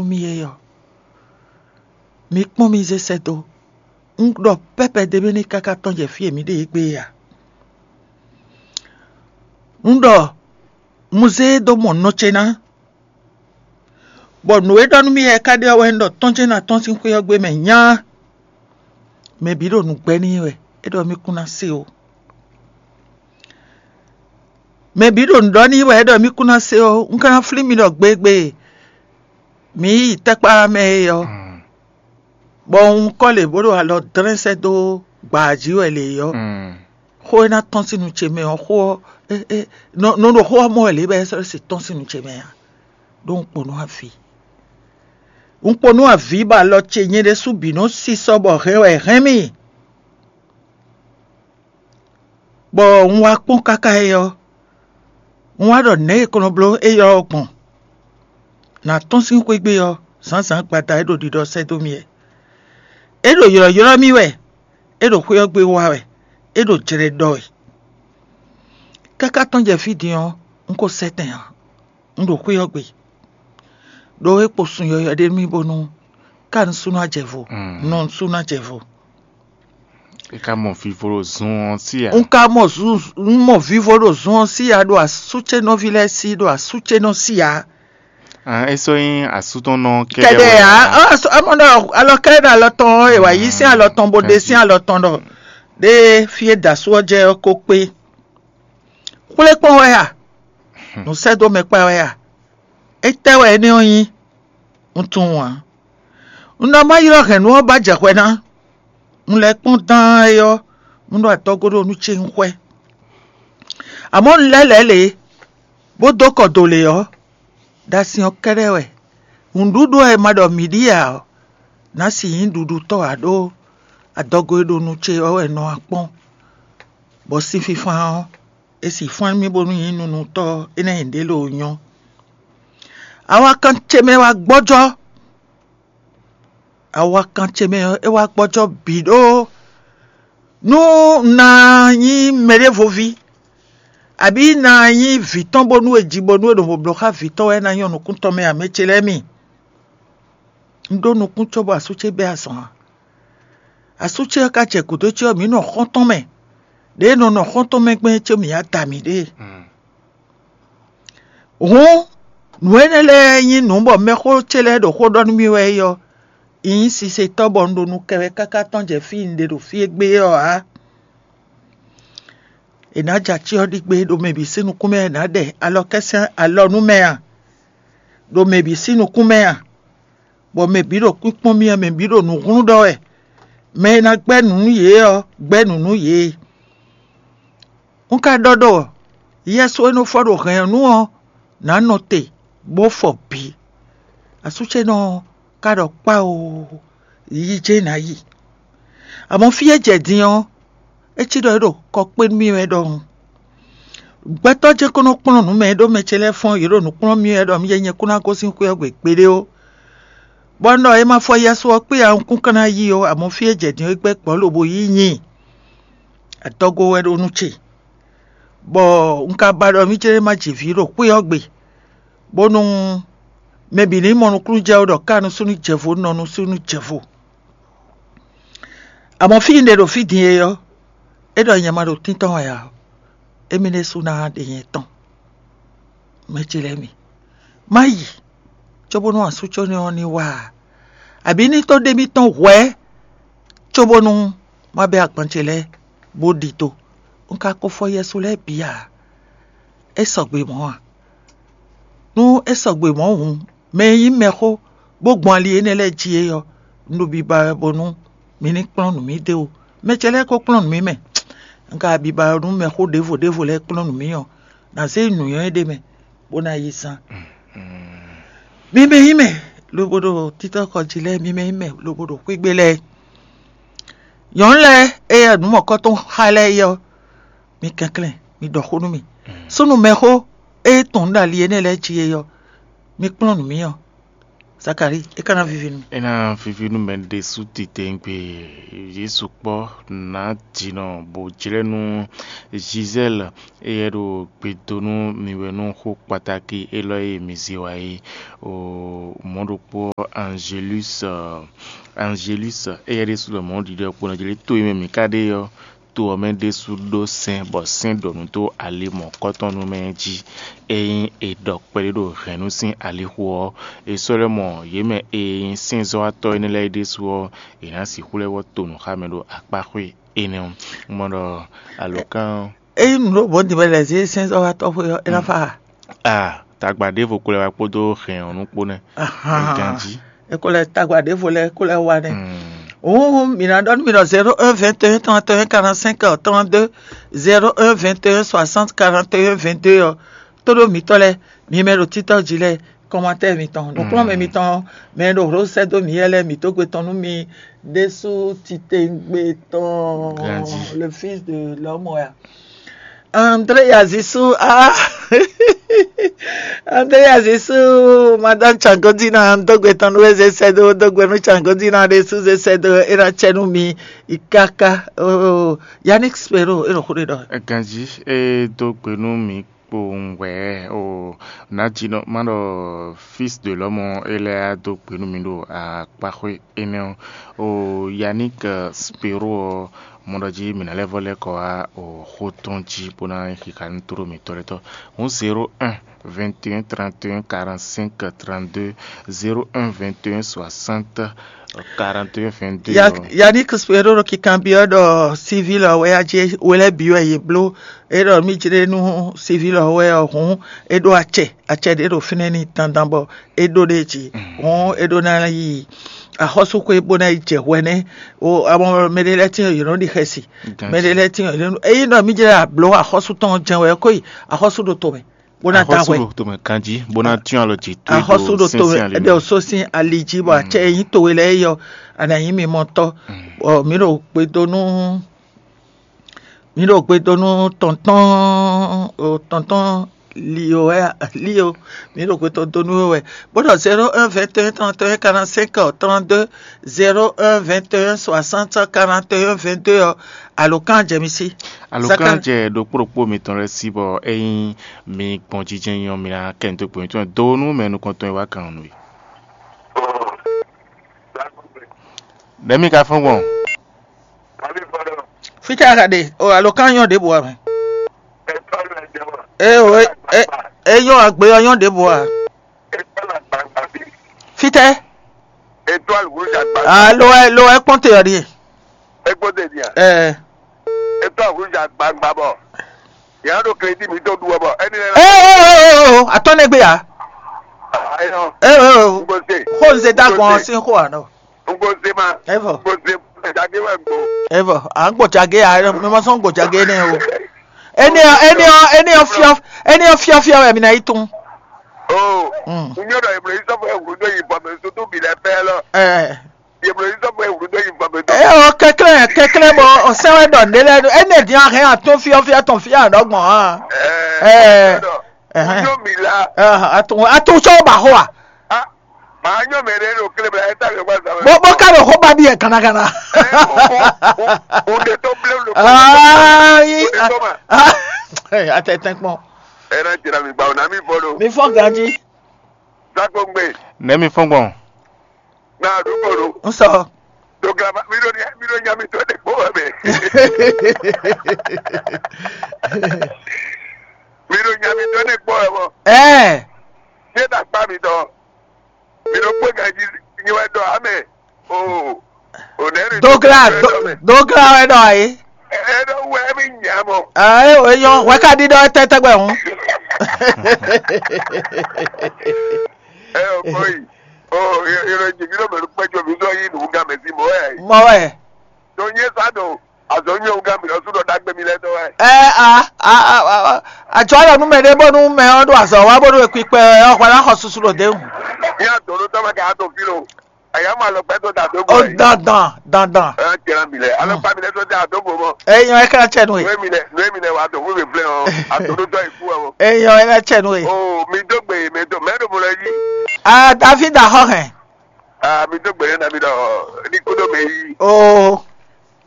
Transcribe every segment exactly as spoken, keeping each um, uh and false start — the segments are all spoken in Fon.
mì é ɔ́, mi kpɔ́n mì zé sɛ́ dó. Un ɖɔ pɛ́pɛ ɖé mɛ ní káká tɔ́n jɛ fí e mǐ ɖe yě gbé é ǎ. Un ɖɔ un zé e dó mɔ nɔ ce ná, bɔ nǔ e ɖɔ nú mì wɛ é ka ɖe ɔ́ wɛ un ɖɔ tɔ́n ce ná tɔ́n sín xwé ɔ́ gbé mɛ nyá. Mɛ bǐ ɖo nǔ gbɛ́ n'i wɛ, é ɖɔ mì kún ná se ó. Mɛ bǐ ɖo nǔ ɖɔ n'i wɛ, é ɖɔ mì kún ná se ó. Un ka ná flín mi ɖɔ gbegbé, mǐ yi tɛ́kpá mɛ é ɔ́, bɔ un kɔ lě bó ɖo alɔ dlɛ́n sɛ́ dó gbǎ jí wɛ lě ɔ́, xó e ná tɔ́n sín nu ce mɛ ɔ́, xó ɔ́, é- é- nɔ nɔ ɖo xó ɔ́ mɔ wɛ lě bɔ é sɔ́ si tɔ́n sín nu ce mɛ ǎ. Ɖó un kpo nú avǐ. Un kpo nú avǐ bɔ alɔ ce nyɛ ɖésú bǐ nɔ sísɔ́ bɔ hɛn wɛ hɛn mì. Bɔ un wá kpɔ́n káká é ɔ́, un wá ɖɔ nɛ̌ e kɔn nɔ bló éyɔ́ ɔ́ gbɔn. Nǎ tɔ́n sín xwé gbe ɔ́, zǎnzǎn gbada é ɖo ɖiɖɔ sɛ́ dó mì wɛ. É ɖo ylɔ̌ylɔ́ mì wɛ, é ɖo xwé ɔ́ gbe wa wɛ, é ɖo jlɛ ɖɔ wɛ. Káká tɔn jɛ fí din ɔ́, un ko sɛ́ tɛn ǎ. Un ɖo xwé ɔ́ gbe, ɖó é kpo sun yɔyɔ̌ ɖé nú mì bónú ká un sú ná jɛ vo, nɔ un sú ná jɛ vo. É ka mɔ vivo ɖo zun ɔ́ sí ǎ. Un ka mɔ zun un mɔ vivo ɖo zun ɔ́ sí ya ɖo asú ce nɔví lɛ́ɛ sí ɖo asú ce nɔ sí ya. Ah, é sɔ́ nyí asútɔ́nɔ kɛɖɛ Kɛɖɛ wɛ ya ǎ. Amɔ ɖɔ alɔ kɛɖɛ ɖo alɔ tɔn ɔ́, è wǎ yí sín alɔ tɔn bó ɖe sín alɔ tɔn ɖɔ ɖé fí e da asú ɔ́ jɛ ɔ́ ko kpé. Xwlé kpɔ́n wɛ a? Nǔ sɛ́ dó mɛ kpá wɛ a? Étɛ́ wɛ énɛ́ ɔ́ nyí? Un tunwun ǎ. Un ɖɔ má ylɔ́ hɛ̌nnu ɔ́ ba jɛ hwɛ ná. Un lɛ́ kpɔ́n dán é ɔ́, un ɖo atɔ́gó ɖo nú ce un xwɛ. Amɔ̌ un lɛ́ lɛ̌ lě, bó dó kɔ do lě ɔ́, ɖo asin ɔ́ kɛ́ɖɛ́ wɛ. Nǔɖuɖu e ma ɖɔ mǐ ɖi ǎ ɔ́, nǎ si nyí ɖuɖutɔ́ ǎ ɖó adɔgo e ɖo nu ce ɔ́ wɛ nɔ wá kpɔ́n, bɔ sin fifan ɔ́, è si fán mì bónú nyí nunutɔ́ énɛ́ nyi ɖě lo nyɔ́. Awakan ce mɛ wá gbɔ́jɔ́. Awakan ce mɛ ɔ́, é wá gbɔ́jɔ́ bǐ ɖó nú un ná nyí mɛɖévoví, abǐ ná nyí vǐ tɔn bónú è ji bónú è ɖo blǒ xá vǐ tɔn wɛ ná nyɔ́ nukún tɔn mɛ ǎ, mɛ ce lɛ́ɛ mi. Un ɖó nukún cóbɔ asú ce bɛ́ azɔn ǎ. Asú ce ɔ́ ka jɛ gǔdo ce ɔ́, mǐ nɔ xɔ́ntɔn mɛ. Ɖěe nɔ nɔ xɔ́ntɔn mɛ gbɛn ce mǐ ya da mǐɖée. Hǔn nǔ énɛ́ lɛ́ɛ nyí nǔ bɔ mɛxó ce lɛ́ɛ ɖo xó ɖɔ nú mì wɛ é ɔ́, nyí sisetɔ́ bɔ un ɖo nu kɛ wɛ káká tɔn jɛ fí un ɖe ɖo fí e gbé ɔ́ ǎ. È nǎ jɛ achyɔ́ ɖi gbé ɖo mɛ bǐ sín nukún mɛ, è nǎ ɖɛ alɔkɛ́sɛ́n alɔ nú mɛ a? Ɖo mɛ bǐ sín nukún mɛ a? Bɔ mɛ bǐ ɖo kpínkpɔ́n mì wɛ, mɛ bǐ ɖo nǔ hlún ɖɔ wɛ. Mɛ e ná gbɛ́ nǔ nú yě ɔ́, gbɛ́ nǔ nú yě. Un ka ɖɔ ɖɔ yɛsu e nɔ fɔ ɖo hɛ̌nnu ɔ́ nǎ nɔ te bó fɔ bǐ. Asú ce nɔ ka ɖɔ kpá oo, yi jɛ́n ná yi. Amɔ̌ fí e jɛ din ɔ́, é cí ɖɔ é ɖo kɔ kpé nú mì wɛ ɖɔhun. Gbɛtɔ́ ce ko nɔ kplɔ́n nǔ mɛ e ɖó mɛ ce lɛ́ɛ fɔ́n yě ɖo nǔ kplɔ́n mì wɛ ɖɔ mì jɛ nyɛ kún ná gosín xwé ɔ́ gbe gbeɖé ó. Bɔ un ɖɔ è ma fɔ yɛsu ɔ́ kpé ǎ, un kún ka ná yí ó, amɔ̌ fí e jɛ din ɔ́ é gbɛ́ gbɔ̌ lobo yí nyi adɔgo wɛ ɖo nú ce. Bɔ un ka ba ɖɔ mì céɖé ma ji vǐ ɖo xwé ɔ́ gbe, bónú mɛ bǐ ní mɔ nukúnnú jɛ ó ɖɔ ká nusúnnú jɛ vo nɔ nusúnnú jɛ vo. Amɔ̌ fí un ɖe ɖo fí din e ɔ́, é ɖɔ nyɛ ma ɖo tíntɔ́n wɛ ǎ, émí ɖésú ná ɖe nyɛ tɔn. Mɛ ce lɛ́ɛ mi, má yi cóbónú asú có ní ɔ́ ní wá a? Abǐ ní tó ɖé mì tɔn hwɛ̌ cóbónú má bɛ́ agban ce lɛ́ɛ bó ɖi do. Un ka ko fɔ yɛsu lɛ́ɛ bǐ ǎ. É sɔgbe mɔ̌ a? Nú é sɔgbe mɔ̌ hǔn, mɛ e nyí mɛxó bó gbɔn ali énɛ́ lɛ́ɛ jí é ɔ́, un ɖo biba wɛ bónú mi ní kplɔ́n nǔ mì d'é o. Mɛ ce lɛ́ɛ ko kplɔ́n nǔ mì mɛ. Un ka biba wɛ nú mɛxó ɖěvo ɖěvo lɛ́ɛ kplɔ́n nǔ mì ɔ́, nǎ zé nǔnywɛ́ ɖé mɛ, bó ná yi zán. Mi mɛ nyí mɛ lobo ɖo títɔ́ kɔ jí lɛ́ɛ, mi mɛ nyí mɛ lobo ɖo xwígbe lɛ́ɛ. Nyɔ̌nu lɛ́ɛ e nǔ mɔ̌kɔ́tɔn xá lɛ́ɛ é ɔ́, mi kɛnklɛ́n, mi ɖɔ xó nú mì. Súnnu mɛxó e tɔn nǔ ɖo ali énɛ́ lɛ́ɛ jí é ɔ́, mi kplɔ́n nǔ mì ɔ́. Zakalíi, é ka ná víví nú. É ná víví nú mɛ ɖésú titewungbe. Yě sukpɔ́ nǎ jǐnɔ bó jlɛ́ nú Gisèle, éyɛ́ ɖo gbe dó nú mi wɛ nú xó kpatáki élɔ́ e mi zé wá é. O mɔ̌ ɖokpó ɔ́, Angélus, Angélus, éyɛ́ ɖésú lɔ mɔ̌ ɖiɖɔ kpo nɔ jlé to e mɛ mǐ ka ɖe ɔ́, to ɔ́ mɛ ɖésú ɖó sɛ́n, bɔ sɛ́n ɖɔ nǔ dó ali mɔ̌kɔtɔn nú mɛ jí. Ényí è ɖɔ kpɛɖé ɖo hɛ̌nnu sín alixo ɔ́, è sɔ́ lɛ́ mɔ yě mɛ e nyí sɛ́nzɔ́watɔ́ énɛ́ lɛ́ɛ é ɖésú ɔ́, è nǎ sixú lɛ́ vɔ́ to nǔ xá mɛ ɖo akpáxwé énɛ́ ɔ́. Un mɔ ɖɔ alǒkan ɔ́, Ényí nǔ ɖo bɔ̌ din wɛ lɛ̌ zé sɛ́nzɔ́watɔ́ xwé ɔ́, é ná fa a? A tagba ɖěvo ko lɛ́ wá kpódó hɛn ɔ́ nú kpó nɛ́. Ahan. Ganjí. É ko lɛ́ tagba ɖěvo lɛ́ɛ ko lɛ́ wá nɛ́. Mm. Hǔn mǐ ná ɖɔ nú mi ɖɔ zéro un vingt et un trente et un quarante-cinq trente-deux, zéro un vingt et un soixante quarante et un vingt-deux ɔ́, tóɖó mǐtɔn lɛ́ɛ, mi mɛ ɖo títɔ́ jí lɛ́ɛ, kɔmatɛ́ mitɔn, nǔkplɔ́nmɛ mitɔn, mɛ e ɖo hlǒ sɛ́ dó mǐ yɛ lɛ́ɛ, mǐ dó gbe tɔn nú mi ɖésú titewungbe tɔn, Ganjí. Le fils de l'homme ya. André Yazisu, ah. André Yazisu, Madame Changodina, dó gbe tɔn nú we zé sɛ́ dó, dó gbe nú Changodina ɖésú zé sɛ́ dó, é ná cɛ nú mi káká. Oh, Yannick Spero, é ɖo xó ɖé ɖɔ. Ganjí, é dó gbe nú mi kpowun wɛ o, nǎjínɔ má ɖɔ fils de l'homme é lɛ́ á dó gbe nú mi ɖo akpáxwé énɛ́ ɔ́. O Yannick Spero ɔ́, mɔ ɖɔ jí mǐ ná lɛ́ vɔ́ lɛ́ kɔ wá o xó tɔn jí bó ná nyí xixa nú tló mǐtɔn lɛ́ɛ tɔn. Hǔn zéro un vingt et un trente et un quarante-cinq trente-deux, zéro un vingt et un soixante quarante et un vingt-deux. Ya- Yannick Spero ɖo kikanbyɔ́ ɖɔ civil ɔ́ wɛ a jí we lɛ́ bǐ wɛ yě bló. É ɖɔ mí jlé nú civil ɔ́ wɛ ɔ́ hǔn, é ɖó acɛ acɛ ɖé ɖo fínɛ́ n'i dandan bɔ é ɖó ɖ'é jí. Hǔn é ɖó ná yi axɔ́súxwé bó ná yi jɛ hwɛ nɛ́. O amɔ mɛ ɖé lɛ́ɛ tín yě nɔ ɖi xɛsi. Mɛ ɖé lɛ́ɛ tín yě nɔ, ényí ɖɔ mí jlé ablǒ axɔ́sú tɔn jɛ́n wɛ é kó yi axɔ́sú ɖo tomɛ bó ná da Axɔ́sú hwɛ. Ɖo tomɛ kanjí bó ná tyɔ́n alɔ jǐ tó. Axɔ́sú ɖo tomɛ, ɛɖɛ ò só sín ali jí bɔ acɛ e nyí towe lɛ́ɛ é yɔ, a nǎ nyí mimɔtɔ́. Bɔ mǐ ɖo gbe dó nú mǐ ɖo gbe dó nú tɔntɔ́n o tɔntɔ́n lio wɛ lio mǐ ɖo gbe dó nú we wɛ. Bó ɖɔ zéro un vingt et un trente et un quarante-cinq trente-deux, zéro un vingt et un soixante quarante et un vingt-deux ɔ́, alǒkan jɛ mi sí. Alǒkan jɛ ɖokpó ɖokpó mitɔn lɛ́ɛ sí bɔ ényí mi gbɔn jijɛ nyɔ mi ná kɛ nǔ dó gbe mitɔn do nú mɛ nukɔntɔn e wá kan nú we. Nɛ̌ mi ka fɔ́n gbɔn? Fítɛ́ a ka ɖe? O alǒkan nyɔ ɖěbǔ ǎ mɛ. Ee o, e e e nyɔ agbe ɔ́ nyɔ ɖěbǔ ǎ. Fítɛ́? Étoile rouge agba. Ah, lo wɛ lo wɛ kpɔ́n te ɔ́ ɖíe. Égbó de dia. Ɛɛ. Étoile rouge agba agba bɔ. Yàrá ɖo crédit mi tó ɖu ɔ bɔ ɛni lɛ. Ee o o o o atɔ́ nɛ gbé ya. Ayɔ. Ee o o Ngozi. Xó n zé dá gbɔn sín xó àná. Ngozi ma. Evɔ. Ngozi. Dagbe wɛ gbo. Evɔ. À ń gbòjàgé à mi ma sɔn gbòjàgé nɛ o. Eni ɔ eni ɔ eni ɔ fiɔ eni ɔ fiɔfiɔ wɛ mi na yi tún. O. Mm. N yóò dɔ ìbùrọ̀ yìí sọ́fọ̀ ẹ̀wùrú tó yìí bọ̀ mẹ́ sótó bì lẹ́ pẹ́ lọ. Ɛ. Ìbùrọ̀ yìí sọ́fọ̀ ẹ̀wùrú tó yìí bọ̀ mẹ́ tó. Ɛ o kɛklɛ kɛklɛ bɔ o sɛwɛ dɔ ne lɛ eni ɛ diɛ hɛn atún fiɔfiɔ tɔn fiɔ dɔgbɔn hã. Ɛ. Ɛ. Ɛhɛn. N yóò mì la. Ɛ, atún atún sɔ ba xɔ wa. Ah, màá nyɔ mɛ ɖé ɖo kle bla ɛ ta yɔ gba zan. Bó bó ká ɖo xó ba bi yɛ gánagánà. O de tó blé lo. Ayi. O de tó ma. Atɛtɛ kpɔn. Ɛ na jira mi gba o na mi bɔ lo. Mi fɔ ganji. Zako ngbe. Nɛ mi fɔn gbɔn. Na du ko lo. N sɔ. Dogla ma mi ɖo nya mi ɖo nya mi tɔ ɖe kpɔ wɛ mɛ. Mi ɖo nya mi tɔ ɖe kpɔ wɛ mɔ. Ɛɛ. Tiɛ ta kpa mi tɔ. Mi ɖo kpé ganji nyi wɛ dɔ amɛ. O. O nɛ ni. Dogla dogla wɛ dɔ ayi. Ɛ ɖo wɛ mi nya mɔ. Ɛɛ o yɔ wɛ ka di dɔ tɛtɛ gbɛ hun. Ɛ o kɔ yi. O yɔrɔ jì mí ló mẹ́nu pẹ́jọ mi sọ yí nù gán mẹ́sì mọ́ ẹ̀. Mɔ wɛ. Tó nyé sá dò. Azɔ nyɛ ŋgá mi lɔ súnɔ dagbe mi lɛ dɔ wɛ. Ɛ a a a a àjọ ayɔ nú mɛ ɖé bónú mɛ ɔ́ ɖo azɔ wá bónú ekpikpɛ ɔ́ hwɛ ná xɔ susu ɖo dé ŋu. Ní àtọ̀nú tọ́mọ kẹ́ àtọ̀ fi lo. Aya mɔ alɔkpa tɔn da dó bɔ. Ó yìí. Dandan, dandan. Ɛ jɛra mi lɛ. Alɔkpa mi lɛ tɔn da dó bɔ mɔ. Eyɔn ɛ ká tsɛ nu e. Nue mi lɛ, nue mi lɛ wa dɔ fún mi flɛ ɔ. Adodotɔ yi kú ɔ. Eyɔn ɛ ká tsɛ nu e. O mi dó gbe mi dó mɛ ɖo mo lɛ yí. Ah, David ahɔ hɛn. Ah, mi dó gbe na mi dɔ ní kúndó mɛ yí. Oh.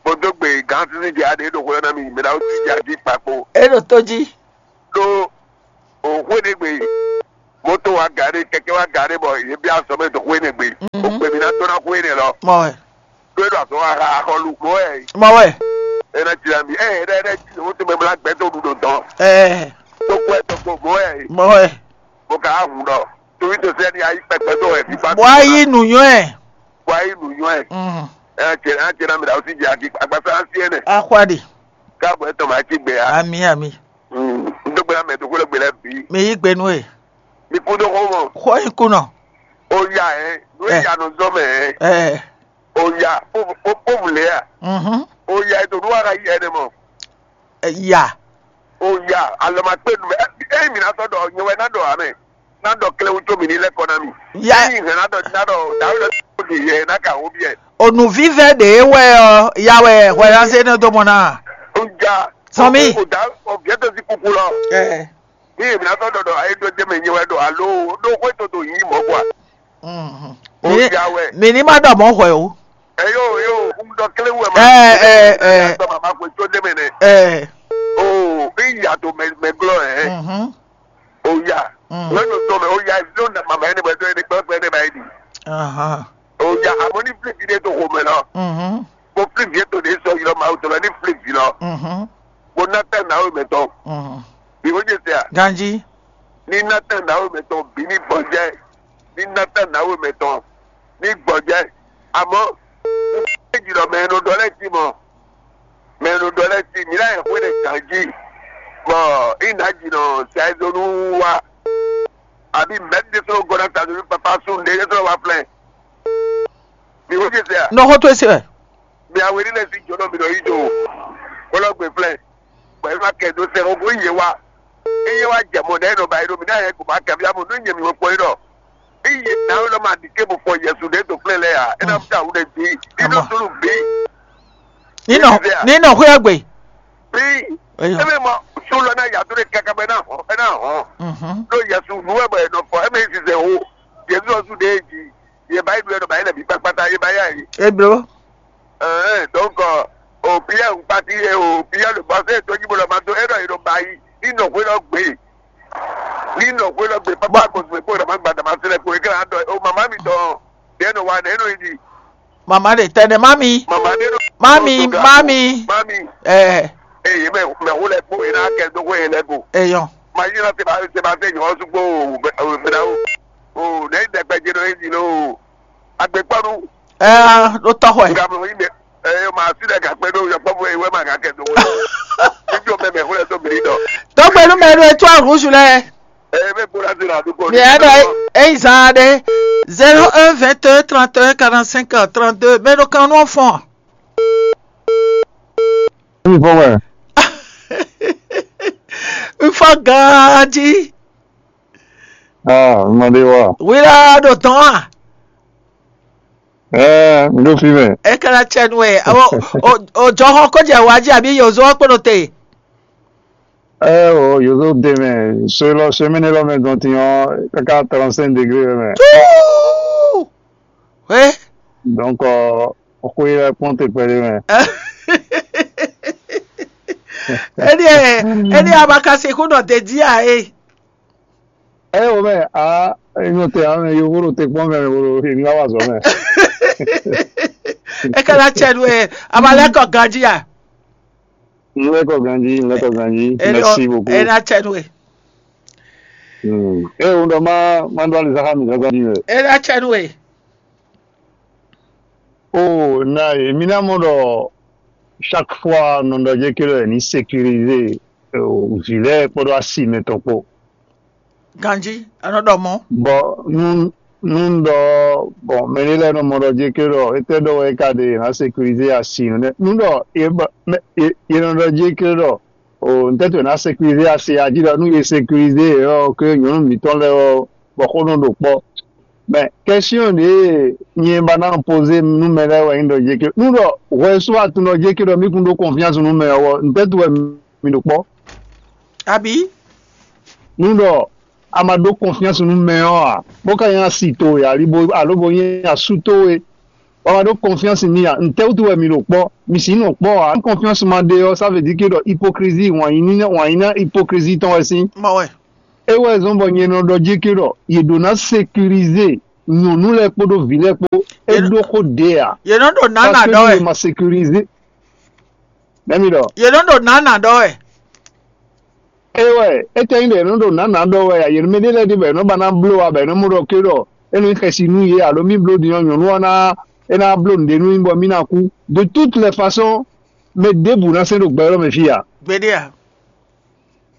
Mo dó gbe gan sísí jẹ adé ɖo xwé na mi mi na ó ti jẹ adí kpakpo. E ɖo tó jí. Ɖó òxwé ɖé gbe moto wá gaɖé kɛkɛ wá gaɖé bɔ yě bia azɔ̌ mɛ dó xwé nɛ gbe. Òkpè mi ná tó ná xwé nɛ lɔ. Mɔ wɛ. Ɖó é ɖo azɔ̌ wa xa axɔlu mɔ wɛ. Mɔ wɛ. É ná jira mi ɛ ɛ ɖɛ jí lówó tó mɛ bla gbɛ tó ɖu ɖo dɔn. Ɛ. Tó kú ɛ tó kó mɔ wɛ. Mɔ wɛ. Bó ka hun ɖɔ torí tó sɛ ni ayi kpɛkpɛ tó wɛ fífa. Bɔ ayi nùnyɔ ɛ. Bɔ ayi nùnyɔ ɛ. Ɛ jẹ ɛ jẹ ná mi ɖa ó sì jẹ agbasa asi ɛ nɛ. Axwa ɖe. Káàbọ̀ ẹ̀ tọ̀ máa jí gbé ya. Ami ami. N tó gbéra mɛ tó kó lè gbé lɛ bí. Mi yí gbé nú e. Mi kú tó kó mọ̀. Xɔ yín kú nɔ. Ó yá ẹ, ló Ẹ. Yá nù zɔmɛ ẹ. Ẹ. Ó yá, ó ó ó wù lé à. Mhm. Ó yá ètò olúwa ka yí ẹ ní mọ̀. Ẹ, yá. Ó yá, alọ́ máa pé nu mẹ́. Ẹ ẹ mi náà tọ́ dọ̀ nyɛ wɛ náà dọ̀ àmì. Náà dọ̀ kílẹ̀ wútó mi ní lẹ́kọ̀ọ́ náà mi. Yá. Ẹ yìí hàn náà dọ̀ náà dọ̀ dàrú lọ sí òdì yẹ náà kà wó bí ẹ. Onùvívɛ ɖě wɛ ɔ, ya wɛ hwɛɖase nɔ dó mɔ ná. Ó já. Sɔmi. Ó dá ọ̀bí ẹ̀ tó sí kúkú lọ. Ẹ. Ní èmi náà tọ́ dọ̀ dọ̀ ayé tó jẹ́ mi nyɛ wɛ dọ̀ alo dó xwé tó tó yí mọ́ kua. Mhm. Ó Mi- yá wɛ. Mi ní má ɖɔ mɔ̌ hwɛ o. Ẹ yóò yóò ń dọ kílé wẹ̀ Ẹ, ẹ, ẹ. Dọ màmá kò tó dé mi nẹ. Ẹ. O bí ìyá tó mẹ mẹ glọ ẹ. Mhm. O yá. Mm. Wẹ́n tó tó mẹ o yá ẹ ló na màmá ẹni bọ̀ ẹ tó ẹni gbọ́ pé ẹni bá yẹ di. Ahan. O yá àmọ́ ní fílíkì dé tó kò mẹ lọ. Mhm. Mo fílíkì yẹ tó dé sọ yìí lọ màá tó lọ ní fílíkì lọ. Mhm. Mo ná tẹ̀ náà ó mẹ tán. Mhm. Bí wọ́n jẹ sẹ́ à. Ganji. Ní ná tẹ̀ náà ó mẹ tán bí ní bọ̀ jẹ́. Ní ná tẹ̀ náà ó mẹ tán. Ní gbọ̀ jẹ́. Àmọ́ méjì lọ mẹ ẹnu dọ́lẹ́ ti mọ̀. Mɛ ɖo ɖɔ lɛ́ɛ si mǐ ná nyɛ xwé ɖé gǎn jí, bɔ é nǎ ji nɔ sɛzonu wá, abǐ mɛ̌ ɖésúnɔ gɔ́ ná sɛzonu papa sú nǔɖé ɖésúnɔ wá flɛ́. Mi xó ce se a? Nɔ xó towe se wɛ. Mi awe ní lɛ́ɛ sí jǒnɔ mi nɔ yí do, bó lɔ́ gbe flɛ́, bɔ é má kɛ dó sɛ xó bó yě wá. Eye wá jɛ mɔ ɖɛ nɔ ba yi ɖo mi ná yɛ ko ba kɛ via mo nú nyɛ mi wɛ kpɔ yi ɖɔ. Eye na wɛ lɔ ma ɖi ke bo fɔ Yesu ɖe to flɛ lɛ ya. E na fia wu ɖe bi. Ido sulu bi. Nínɔ nínɔ xwé gbe. Bi. Eye mɔ sulu na ya to ɖe kaka bɛ na hɔn, e na hɔn. Mhm. Ɖo Yesu nu wɛ bɔ e nɔ fɔ, e mɛ yi sisɛ wo. Yesu ɔsu ɖe ji. Ye ba yi ɖu ɛ nɔ ba yi lɛ bi kpakpata ye ba ya yi. Eblo. Ɛɛ donc o Pierre ŋkpati ye o Pierre le bɔsɛ to nyi bolo ma to e ɖɔ yi ɖo ba yi ni nɔ hwe lɔ gbe ni nɔ hwe lɔ gbe papa ko zwe ko dama gba dama se lɛ ko ekele adɔ o mama mi tɔn de nɔ wa ne nɔ yi di. Mama de tɛnɛ mami. Mama de nɔ Mami, mami. Mami. Ɛɛ. Eye mɛ mɛ wo lɛ kpo ena kɛ do ko ye lɛ ko. Eyɔn. Ma yi na se ba se ba se nyɔ sugbo o o o ne dɛgbɛ je nɔ yi di lo. Agbekpɔnu. Ɛɛ, ɖo tɔxɔe. Nga mlɔ yi mɛ. Ɛɛ, ma si ɖe gakpe ɖo yɔkpɔbɔ yi wɛ ma gakɛ do wɛ. Ibi o mɛ mɛ xulɛ to miri dɔ. Dɔgbe nu mɛ ɖo eto ahusu lɛ. Ɛɛ, mɛ kpɔɖa si la dukɔ. Mi yɛ dɔ eyi zan ɖe. Zéro un vingt et un trente et un quarante-cinq trente-deux. Mɛ ɖo kan nɔ fɔn. Mi fɔ wɛ. Nfɔ ganji. Ah, mɔ ɖe wa. Wira ɖo tɔn a. Ɛɛ, mi ɖo fi mɛ. E kana tsɛ nu ɛ. O o o jɔxɔ ko jɛ wa ji abi yozo kpo ɖo te. Ɛɛ o yozo de mɛ. So lɔ semaine lɔ mɛ gɔn ti ɔ kaka trente-cinq degré wɛ mɛ. Tuu. We. Donc ɔ xwe lɛ kpɔn te kpɛɖe mɛ. Ɛni ɛ ɛni a ma ka se ko nɔ te ji a e. Ɛ o mɛ a enyo te a mɛ yovo ɖo te kpɔn mɛ wo ɖo emi wa wa zɔ mɛ. E ka na tsɛ nu ɛ a ma lɛ kɔ ganji a. N lɛ kɔ ganji, n lɛ kɔ ganji. Merci beaucoup. E na tsɛ nu ɛ. Hmm. E o ɖɔ ma ma ɖo alizaka mi ganji mɛ. E na tsɛ nu ɛ. O na emi na mɔ ɖɔ chaque fois nɔ ɖɔ jɛ ke ɖɔ ɛ ni sécuriser vǐ lɛ́ɛ kpódó asi mɛtɔn kpó. Ganji, anɔ ɖɔ mɔ. Bɔ nu nu ɖɔ bɔn mɛ ɖé lɛ́ɛ nɔ mɔ ɖɔ jɛ ke ɖɔ étɛ́ ɖɔ wɛ é ka ɖe è nǎ sécuriser asi nɛnɛ nu ɖɔ è nɔ ɖɔ jɛ ke ɖɔ o ntɛ́ to è nǎ sécuriser asi ají ɖɔ nú è sécuriser ɔ́ ke nyɔ̌nu mǐtɔn lɛ́ɛ ɔ́ bɔ xó nɔ ɖo kpɔ́. Bɛn kɛsyɔn ɖě nyɛ ba ná poze nú mɛ lɛ́ɛ wɛ nyí ɖɔ jéké nú ɖɔ hwɛ sú atun ɖɔ jéké ɖɔ mí kún ɖó confiance nú mɛ ɔ́, ntɛ́ tu wɛ mi ɖo kpɔ́? Abǐ? Nú ɖɔ a ma ɖó confiance nú mɛ ɔ́ ǎ, bó ka nyí asi towe alo bo nyí asú towe, bɔ a ma ɖó confiance n'i ǎ, ntɛ́ wútu wɛ mi ɖo kpɔ́? Mi sǐ nɔ kpɔ́ ǎ. Nú confiance ma ɖe ɔ́, ça veut dire que ɖɔ hypocrisie wǎn yí ná hypocrisie tɔn wɛ sín. Mɔ wɛ. É wɛ zɔ́n bɔ nyɛ nɔ ɖɔ jéké ɖɔ yě ɖó ná sécuriser nyɔ̌nu lɛ́ɛ kpódó vǐ lɛ́ɛ kpó. É ɖó xó ɖe ǎ. Yě nɔ ɖo nǎ nǎ ɖɔ wɛ. Yě ma sécuriser. Nɛ́ mi ɖɔ? Yě nɔ ɖo nǎ nǎ ɖɔ wɛ. É wɛ, é tɛ́ nyí ɖɔ yě nɔ ɖo nǎ nǎ ɖɔ wɛ ǎ. Yě mɛ ɖé lɛ́ɛ ɖe bɔ yě nɔ ba ná bló ǎ, bɔ yě nɔ mɔ ɖɔ ké ɖɔ é nɔ nyí xɛsi nú yě alo mì bló din ɔ́, nyɔ̌nu ɔ́ ná é ná bló nǔɖé nú mì bɔ mì ná kú. De toutes les façons, mɛ ɖěbǔ ná sɛn ɖo gbɛ élɔ́ mɛ fí ǎ. Gbeɖé ǎ.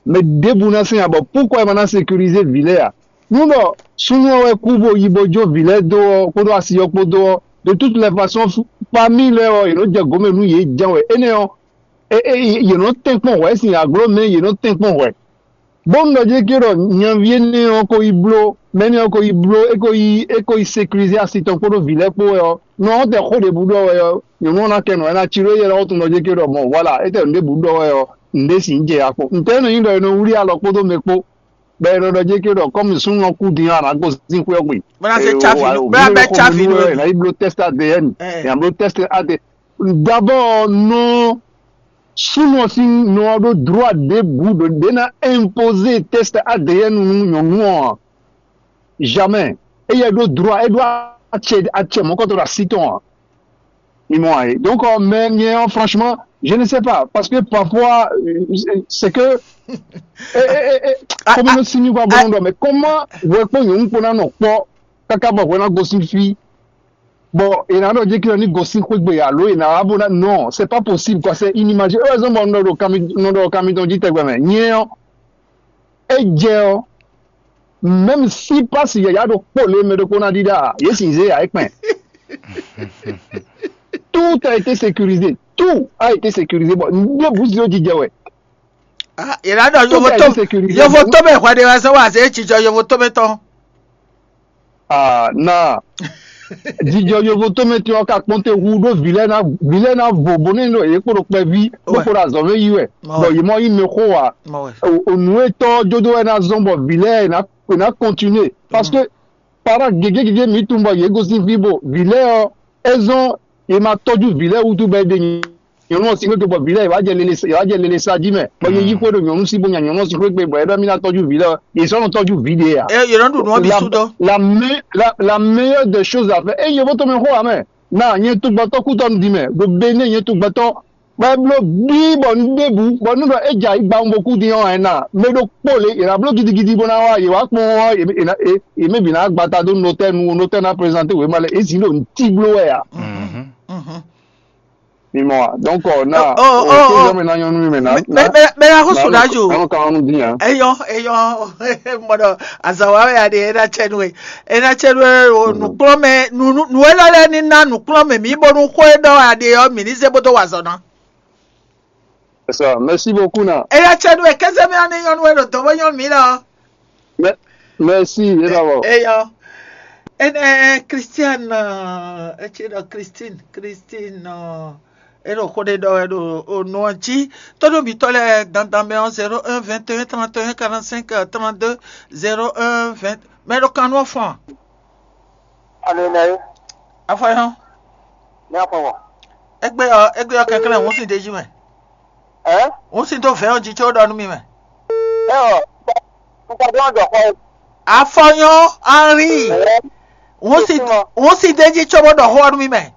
Mɛ ɖěbǔ ná sɛn ǎ, bɔ pourquoi é ma ná sécuriser vǐ lɛ́ɛ ǎ? Nú ɖɔ súnnu ɔ́ wɛ kú bó yi bó jó vǐ lɛ́ɛ dó ɔ́ kpódó asi ɔ́ kpódó ɔ́, de toutes les façons, famille lɛ́ɛ ɔ́, yě nɔ jɛ gǒmɛ nú yě jɛ́n wɛ. Énɛ́ ɔ́, é é yě nɔ tɛ́nkpɔ́n hwɛ̌ sin aglǒ mɛ yě nɔ tɛ́nkpɔ́n hwɛ̌. Bónú ɖɔ jɛ́n ké ɖɔ nyaví énɛ́ ɔ́ ko yi bló, mɛ énɛ́ ɔ́ ko yi bló, é ko yi é ko yi sécuriser asi tɔn kpódó vǐ lɛ́ɛ kpó wɛ ɔ́, nɔ ɔ́ tɛ xó ɖěbǔ ɖɔ wɛ ɔ́, nyɔ̌nu ɔ́ ná kɛ nɔ, é ná cí ɖó yɛ ɔ́ tunwun ɖɔ jɛ́n ké ɖɔ mɔ voilà, é tɛ nǔ ɖěbǔ ɖɔ wɛ ɔ́, nǔɖé sǐn jɛ ya kpɔ́n. Ntɛ́ nɔ nyí ɖɔ è nɔ wlí alɔ kpódó mɛ kpó, bɔ è nɔ ɖɔ jɛ́n ké ɖɔ kɔ́mi súnnu ɔ́ kú din ɔ́, a nǎ gosín xwé ɔ́ gbe? Bó ná se tsáfi nú bó ná bɛ́ tsáfi nú ɛ ná yi bló tɛ́st A D N, ɛ ná bló tɛ́st A D N. D'abord nɔ súnnu ɔ́ sín nɔ ɔ́ ɖó droit ɖěbǔ ɖo ɖě ná imposer test A D N nú nyɔ̌nu ɔ́ ǎ. Jamais. Éyɛ́ ɖó droit, é ɖó acɛ acɛ mɔ̌kɔtɔn ɖo así tɔn ǎ. Mi mɔ ǎ é. Donc euh, mais nyɛ ɔ́ franchement, je ne sais pas, parce que parfois euh, c'est que comment si mi va bon, mais comment hwɛ kpó nyɔ̌nu kpó ná nɔ kpɔ́ káká bɔ hwɛ ná gosín fí, bɔ è nǎ ɖɔ jɛ́n ní gosín xwé gbe alo è nǎ wá bó ná, non, c'est pas possible quoi, c'est inimaginable. Heureusement bɔ un ɖɔ ɖo kanmi un ɖɔ ɖo kanmi tɔn jí tɛgbɛ mɛ. Nyɛ ɔ́, é jɛ ɔ́, même si passe yǎyá ɖokpó lě mɛ ɖokpó ná ɖíɖá ǎ, yě sin zé ǎ é kpɛn. Tout a été sécurisé, tout a été sécurisé, bɔ ɖěbǔ zé jijɛ wɛ. Ah, yě ná ɖɔ Tout yovo a tó été sécurisé. Yovo tó mɛ hwɛ ɖe wɛ sɔ wá zé jijɔ yovo tó mɛ tɔn. Ah, na jijɔ yovo tó mɛ tɔn ka kpɔn te hu ɖó vǐ lɛ́ɛ ná vǐ lɛ́ɛ ná vo bó ní ɖo yě kpo ɖo kpɛví bó kpo ɖo azɔ̌ mɛ yí wɛ. Bɔ yě mɔ yí mɛ xó wa. Nǔ e tɔ́ jó dó wɛ ná zɔ́n bɔ vǐ lɛ́ɛ è nǎ è nǎ kɔntinué, parce que para gěgé gěgé mǐ tunwun bɔ yě gosín fí bo vǐ lɛ́ɛ ɔ́, é zɔ́n è ma tɔ́jú vǐ lɛ́ɛ wútu bɔ é ɖe nyɔ̌nu ɔ́ sín xwé gbe bɔ vǐ lɛ́ɛ è wá jɛ lele è wá jɛ lele sa jí mɛ, bɔ yě yí xwé ɖo nyɔ̌nu sí bó nya nyɔ̌nu ɔ́ sín xwé gbe bɔ é ɖɔ mì ná tɔ́jú vǐ lɛ́ɛ ɔ́, yě sɔ́ nɔ tɔ́jú vǐ ɖe ǎ. Eye yě nɔ ɖu nǔ ɔ́ bǐ sú dó. La me- la la meilleure des choses à faire. Eye bó tɔn mɛ xó wá mɛ, na nyɛ tugbɔtɔ́ kútɔ́ nu din mɛ ɖo Bénin, nyɛ tugbɔtɔ́ bɔ é bló bíí bɔ un ɖěbǔ bɔ nú ɖɔ é jɛ ayǐ gba un bo kú din ɔ́, ɛna mɛ ɖokpó lě è nǎ bló gidigidi bó ná wá yě wá kpɔ́n ɔ́, yě mɛ bǐ ná gbata dó notɛ́ nu notɛ́ ná prezanté wěma lɛ́ɛ, é zǐn ɖo nǔtí bló wɛ ǎ. Mi mɔ wa. Donc ɔ na o o o o mɛ na nyɔnu mi mɛ na mɛ mɛ mɛ na ko sùn dájú. Nanu kan ɔnu dín ya. Eyɔ eyɔ mɔdɔ azawa wɛ adi ena tsɛnu e ena tsɛnu e o nukplɔmɛ nu nu elɔ lɛ ni na nukplɔmɛ mi bonu xɔ e dɔ adi yɔ mi ni se bodo wa zɔ na. C'est ça. Merci beaucoup na. Ena tsɛnu e kɛsɛ mi ani nyɔnu e ɖo dɔ bɔ nyɔnu mi lɔ. Merci, é va bɔ. Eyɔ. Ene Christiane, etsɛ ɖɔ Christine, Christine, eno xo ɖe ɖɔ wɛ ɖo o nɔ jí. Tɔɖo mitɔ lɛ dandan mɛ ɔ́ zéro un vingt et un trente et un quarante-cinq trente-deux zéro un vingt. Mɛ ɖo kan nɔ fɔn. Alo nɛ ye. Afɔ yɔ. Ní afɔ wɔ. Egbe ɔ egbe ɔ kɛkɛ lɛ ŋun sin ɖe jí mɛ. Ɛ? Ŋun sin tó vɛ ɔ jí tso ɖɔ nú mi mɛ. Ɛ ɔ, n ka dɔn dɔ xɔ. Afɔ yɔ Henri. Ɛ? Ŋun sin ŋun sin ɖe jí tso bó ɖɔ xɔ nú mi mɛ.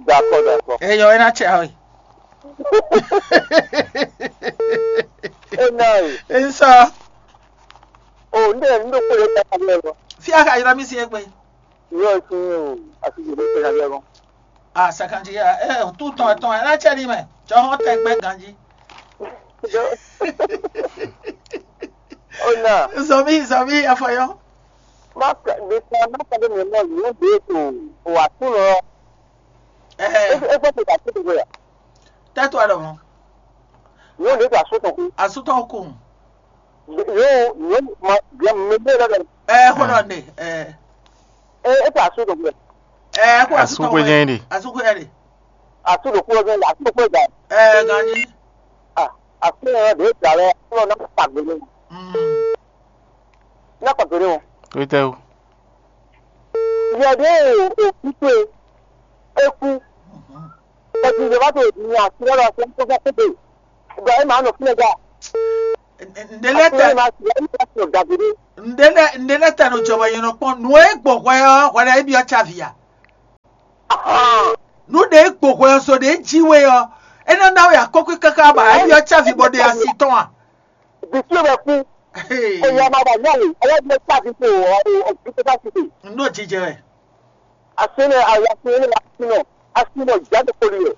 D'accord, d'accord. Eyɔ ena tsɛ awe. Ena ye. Nsɔ. O n de n do kpele ta ka lɛ lɔ. Fi a ka yra mi si egbe. Yɔ si o asi je ne kpele ta lɛ lɔ. Ah, cinquante ya. Eh, tout ton ton ena tsɛ ni mɛ. Tsɔ hɔn tɛ gbɛ ganji. Ona. Zomi zomi afɔyɔ. Ma ka de ta ma ka de mi mo ni de to o atu lɔ. Eh. E e ko ta ko ya. Tɛ to alɔ mo. Yo de ta so to. Asutɔ ko. Yo yo ma ya me de la. Eh, hold on de. Eh. É é ta asú ɖo gbɛ. Ɛ kó Asú xwé jɛ́n ɖe. Asú xwé jɛ́n ɖe. Asú ɖo kúrò jɛ́n, asú ɖo kúrò jɛ́n. Ɛ ganji. Ah, asú yẹn ɖě da lɛ, kúrò náà pàgbé ní. Mm. Náà pàgbé ní o. Tó tẹ́ o. Yɛ ɖě o kú pé, é kú. Kɔtizɔba to ní asú lɔ sɛ kó fẹ́ kó dé. Ibrahim anɔ fúnɛ dá. Ǹdé lɛ tɛ Asú ma sɛ ní ma sɔ gàdúró. Ǹdé lɛ ǹdé lɛ tɛ nɔ jɔba yẹn nɔ kpɔn nù é gbɔ hwɛ ɔ hwɛ ɖe é byɔ́ tsa via. Ahan. Nǔ ɖě gbɔ hwɛ ɔ so ɖě jí we ɔ, é nɔ ná we akɔ́kú káká ba é byɔ́ tsa vi bɔ ɖe asi tɔn a. Bìtú bɛ kú. Oyè ọmọ àgbà náà ni ọlọ́dún ẹ̀ tàbí kò ọ̀dùn tó bá ti dè. Nú òjijì rẹ̀. Asínú àyàfin ní asínú asínú jáde kò lè.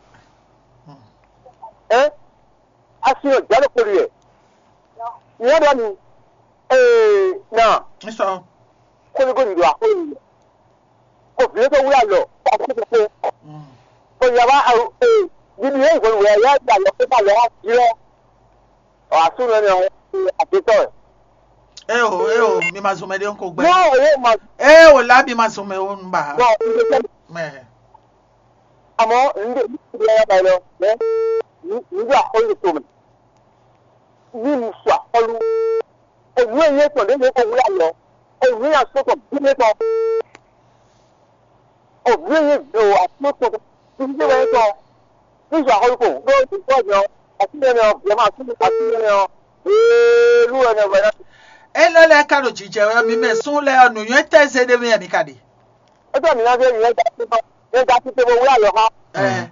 Ẹ́ asínú jáde kò lè. Ìyá bá mi. Ee náà. Ń sọ. Kóníkóní do àkóyè. Kò fi lóko wúlò àlọ́. Kò fi lóko. Kò yà wá. Bíbí yẹn ìgbọ̀n wẹ̀ yá ìgbà lọ kó bá lọ wá jí lọ. Ɔ asúnú ɛnɛ ɔ àtitɔ ɛ. Eo eo mi ma zun mɛ ɖé ŋko gbɛ. N'o ye ma Eo la mi ma zun mɛ wo nu ba. Bɔn n bɛ tɛmɛ. Mɛ. Àmọ́ n bɛ n bɛ yaba lɔ mɛ n bɛ akɔlu to mɛ. Ni mu su akɔlu. Ènú èyí ètò lé ní owó ayọ̀. Ènú yà sọ̀tọ̀ bí mi tán. Òbí yín gbé o àti ó tún títí tí wọ́n tán nígbà orúkọ lórí ìtọ́ ìyàn àti ìyẹn ọ̀ bẹ̀rẹ̀ máa tún àti ìyẹn ọ̀ bẹ́ẹ̀lú ẹni ọ̀gbẹ́ náà. Elɔ́ lɛ́ɛ ka ɖo jijɛ wɛ mi mɛ sún lɛ́ɛ ɔ́, nǔnywɛ́ tɛ́ zé ɖé mɛ mi ka ɖe. É tọ́ mi ná dé ìyẹn dá sí tán ìyẹn dá sí pé mo wúlò àlọ́ ha. Ɛ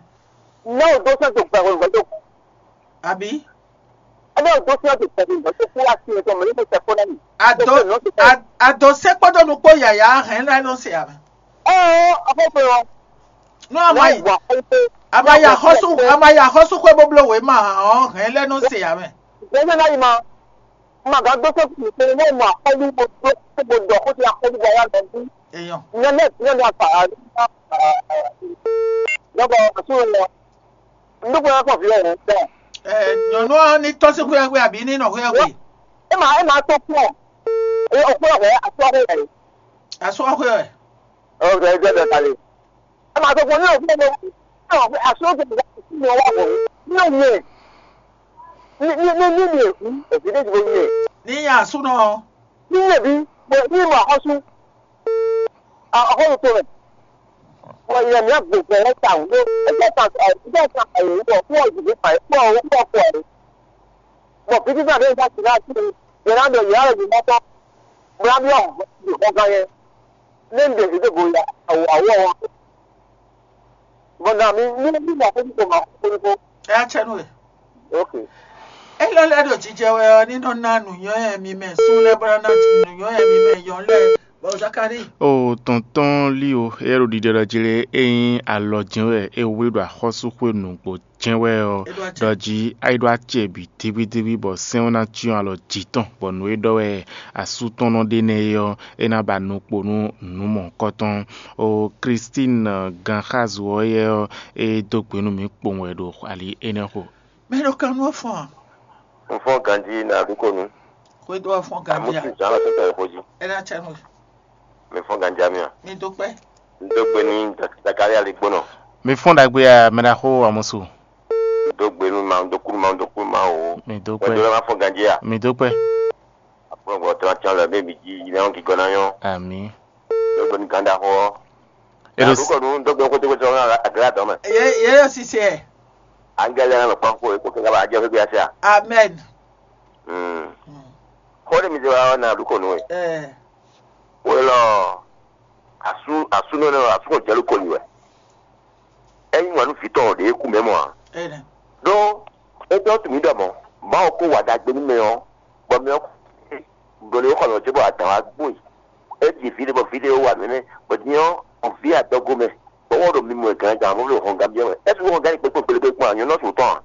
Náà ò dó sẹ́ńtò gbẹ̀rù ìgbẹ́ tó kú. Àbí? Ẹ náà ò dó sẹ́ńtò gbẹ̀rù ìgbẹ́ tó kú láti ẹ̀tọ́ mọ̀ nípa ìṣẹ̀kọ́ náà nì. Àdó Tó kù lọ́sùn tán. Àdó sẹ́kpọ́dọ̀ nukpó yàyà hɛn lẹ́nu no se ame. Ẹ ẹ afọ́fẹ́ wọn. No ama yi. Wà á pé Ama ya xɔsu ama ya xɔsu xwe boblo we ma ɔ hɛn lɛ no se ame. Gbèsè náà yìí ma ma gán gbé sókè nìkan ní mọ̀ àkọ́lù gbogbo gbogbo dọ̀ kó ti àkọ́lù bọ̀ yá lọ bí. Èèyàn. Ìyẹn náà ìyẹn náà fà á ní. Lọ́bọ̀ àtúrò lọ. Ndúgbò yẹn kàn fi ẹ̀ rẹ̀ bẹ́ẹ̀. Ẹ nyɔnu ɔ ní tɔsí xwé xwé àbí ní nɔ xwé xwé. Ẹ máa ẹ máa tó kú ọ̀. Ẹ ọ̀pọ̀ ọ̀rẹ́ àti ọ̀rẹ́ rẹ̀. Asɔ xwé ɛ. Ọ̀rẹ́ ẹgbẹ́ bẹ̀ kalẹ̀. Ẹ máa tó kú ní ọ̀pọ̀ ọ̀rẹ́. Ẹ wà pé àṣọ tó ti dá sí ní ọwọ́ àbọ̀ ní òun yẹn. Ní ní ní ní ní èkú èsì ní ìdìbò yẹn. Ní yà súná. Ní yẹ̀bí ní ìmọ̀ àkọ́sù. Àkọ́sù tó rẹ̀. Wọ́n yẹ mí àgbègbè rẹ̀ ta òun ló. Ẹgbẹ́ ta ẹgbẹ́ ta ẹ̀yìn wọ̀ fún ọ̀gbìn nípa ẹ̀ fún ọ̀rọ̀ fún ọkọ̀ ẹ̀. Bọ̀ bí títà bẹ́ẹ̀ bá ti náà sí i, yẹn náà bẹ̀ yàrá ìlú mọ́tọ́. Bóyá bí ọ̀hún ọ̀gá yẹn. Ní ń dèjì dé bóyá àwọ̀ àwọ̀ wọn. Bọ̀dà mi ní bí màá fojú kò máa fojú kò. Ẹ á tsẹ́ nú ẹ̀. Ok. Elɔ́ lɛ́ɛ ɖo jijɛ wɛ ɔ́, ní nɔ ná nǔnywɛ́ mi mɛ sún lɛ́ɛ bó ná ná nǔnywɛ́ mi mɛ yɔn lɛ́ɛ. Bɔ Zakari. O tɔntɔn lí o, é ɖo ɖiɖe ɖɔ jí lé, é nyí alɔ jɛ́n wɛ é wé ɖo axɔ́súxwé nǔgbó jɛ́n wɛ ɔ́, Edward ɖɔ jí é ɖó acɛ bǐ díbídíbí bɔ sɛ́n ɔ́ ná cyɔ́n alɔ jǐ tɔn, bɔ nǔ e ɖɔ wɛ asú tɔn nɔ ɖe nɛ́ é ɔ́, é ná ba nukpo nú nǔ mɔ̌hunkɔtɔn. O Christine Ganxazu ɔ́ yɛ ɔ́, é dó gbe nú mǐ kpowun wɛ ɖo ali énɛ́ xo. Mɛ ɖo kan nú ɔ́ fɔ́n a? Un fɔ́n ganjí nǎ ɖu kó nu. Xwedó ɔ́ fɔ́n ganjí a? Amúsí zǎn lɔ tɛ́tɛ́ xó jí. É ná cɛ nú. Mi fɔ́n ganjí a mi a? Mi dó kpɛ́. Un dó gbe ní Zakaria lí gbónɔ. Mi fɔ́n ɖagbe a mɛ ɖaxó Amusu? Un dó gbe nú ma, un dó kú nú ma, un dó kú nú ma o. Mi dó kpɛ́. Wɛn dó lɛ́ má fɔ́n ganjí a? Mi dó kpɛ́. Aƒlɔgbɔ tɔn atsyɔ́n lɛ bɛ mi jí yi lɛ ɔ́ gígɔ́ ná nyɔ́. Àmín. Lɔgbɔ ní gǎn ɖaxó ɔ́. Alo. Àdúgbò ní dɔgbẹ́ kótókótó ɔ́ aglá dɔn mɛ. Ye ye yɔ sise. Angɛlɛ ɔ́ lɔ kpɔ́n kó kó kɛ́ bá jẹ́ fí gbé ase a? Amen. Hmm. Xó ɖé mi zé wá ɔ́ ná àdúgbò nú we. Eh. Wé lɔ asú asú nɔ nɔ asú kò jɛlu kò yi wɛ. Ɛ́ nyí wǎn nú vǐ tɔn ɖě kú mɛ mɔ a? Amen. Ɖó é dɔn tunwun ɖɔ mɔ̌, Mawu kó wa ɖagbe nú mɛ ɔ́, bɔ mɛ ɔ́ kú, bɔ lě xɔ nɔ jɛ bɔ adǎn wá gbó e. É ɖi vǐ ɖé bɔ vǐ ɖé wá nɛnɛ, bɔ din ɔ́, vǐ adɔgo mɛ, bɔ wɔ ɖo mimɔ e gǎn gǎn bó ɖo hɔn gán biɛ wɛ. É sixú hɔn gán yi kpékpé kpékpé kpɔ́n a? Nyɔ̌nu ɔ́ su tɔn a?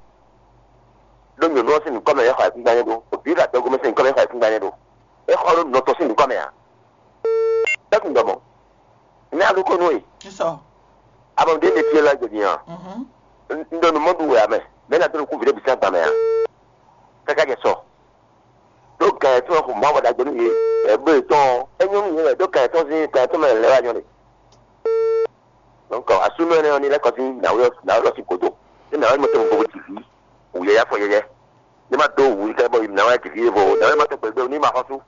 Ɖó nyɔ̌nu ɔ́ sín nǔkɔ mɛ é xɔ ayǐkúngban nyɛ ɖó, vǐ ɖo adɔgo mɛ sín nǔkɔ mɛ é xɔ ayǐkúngban nyɛ ɖó. É xɔ ɖó nɔ tɔn sín nǔkɔ mɛ a? Bɛ́ kun ɖɔ mɔ̌. Nɛ́ a ɖo kó nú we? Sísɔ. Abɔ ɖě ɖe fí élɔ́ gbedin ɔ́, Mhm. un ɖo nǔ mɔ ɖu wɛ ǎ mɛ, mɛ̌ ná dó nukún vǐ ɖé bǐ sín agban mɛ ǎ? Káká jɛ sɔ. Ɖó gǎn yětɔn xo Mawu ɖagbe nú yě, bɔ yě bló yětɔn ɔ́, é nyɔ́ nú yě wɛ, ɖó gǎn yětɔn sín gǎn yětɔn mɛ lɛ́ wá nyɔ́ ɖe. Donc, asúnú ɛnɛ ɔ́ ní lɛ́ kɔ sín nǎwe ɔ́, nǎwe ɔ́ sín gǒdo. Ní nǎwe mɔ tɛn bó jí vǐ, wǔ yɛ́yá fɔ yɛ́yɛ́. Ní ma dó wǔ ní ká bɔ nǎwe jí vǐ e vo, nǎwe ma tɛn gbɛgbɛ ní ma xɔ́sú.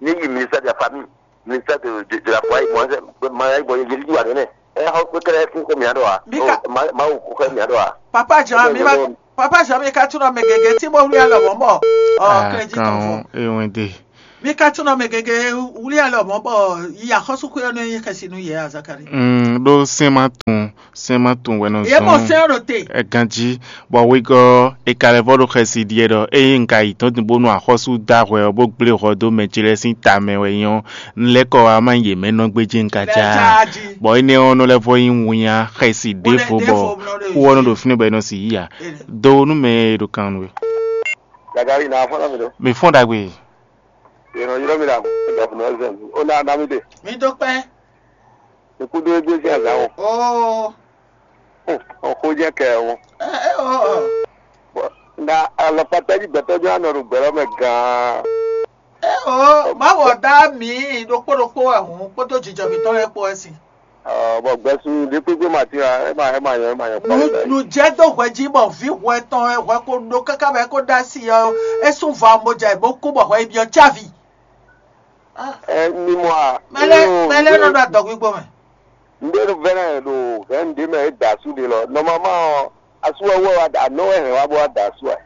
Ní yi ministère de la famille, ministère de, de, de la foi, moi, ma yi bɔ yɛ yɛ wa nɛnɛ. Ɛ xɔ kpé kɛlɛ kú kó mǐa ɖɔ a? Bí ka- Mawu kó xɛ mǐa ɖɔ a? Papa Jean, mi ma, Papa Jean, mi ka tunɔ mɛ gɛgɛ tí mo wlí alɔ mɔ bɔ ɔ Ah, kɛlɛ jí tɔn fɔ. Kan ewende. Mi ka tunɔ mɛ gɛgɛ wlí alɔ mɔ bɔ yi axɔsúkú ɔ́ nɔ nyi xɛsi nú yɛ a Zakari. Mm, ɖó sɛn ma tun, sɛn ma tun wɛ nɔ Yě mɔ zɔn sɛn ɖo te. Ɛ ganjí, bɔ wegɔ́ e ka lɛ́ vɔ ɖo xɛsi ɖiɛ ɖɔ ényí un ka yi dɔ̌n din bónú axɔ́sú dó ahwɛ ɔ́ bó gblé hɔ dó mɛ ce lɛ́ɛ sín ta mɛ wɛ nyí ɔ́, un lɛ́ kɔ wá má nyí yě mɛ nɔ gbéjé un ka Lɛ já. Jájí. Bɔ énɛ́ ɔ́ nɔ lɛ́ vɔ nyí winnyá xɛsi Bó lɛ́ ɖěvo bó bɔ lɛ́ kú ɔ́ nɔ ɖo fínɛ́ bɔ é nɔ si yí ǎ. Ene. Do nú mɛ e ɖo kan nú we. Gagari na afɔ na mi ɖo. Mi fɔ́n ɖagbe. Yɛnɛ yɔrɔ mi la, ɛdɔkùnrin ɛzɛ mi. Ó ná ná mi ɖe. Mi dó kpɛ́. Ikú dó egbé sín azǎn o. Oo. Ó xó jẹ́ kɛ o. Ɛ ɛ o. Bɔ na alɔkpatɛ jí gbɛtɔ́ jɔ anɔ ɖo gbɛlɔ mɛ gan. Ɛ o. Má wɔ dá mi ɖokpó ɖokpó wɛ hǔn kpódó jijɔ mǐtɔn lɛ́ɛ kpó wɛ sin. Ɔ, bɔ gbɛsu ɖé kpékpé ma tín a, é ma é ma nyɔ é ma nyɔ kpɔ́. Nǔ jɛ dó hwɛ jí bɔ vǐ hwɛ tɔn wɛ hwɛ ko ɖó káká bɔ é ko ɖó asi ɔ́, é sú va bó jɛ bó kú bɔ hwɛ yi byɔ́ cávi. Ɛ mi mɔ a. Mɛlɛ mɛlɛ nɔ ɖo adɔgbígbó mɛ. N ɖe nu vɛ́ nɛ ɖo hɛn ɖé mɛ é da asú ɖe lɔ. Nɔmama ɔ, asú wɛ wɛ wa da anɔ wɛ hɛn wa bó wa da asú wɛ.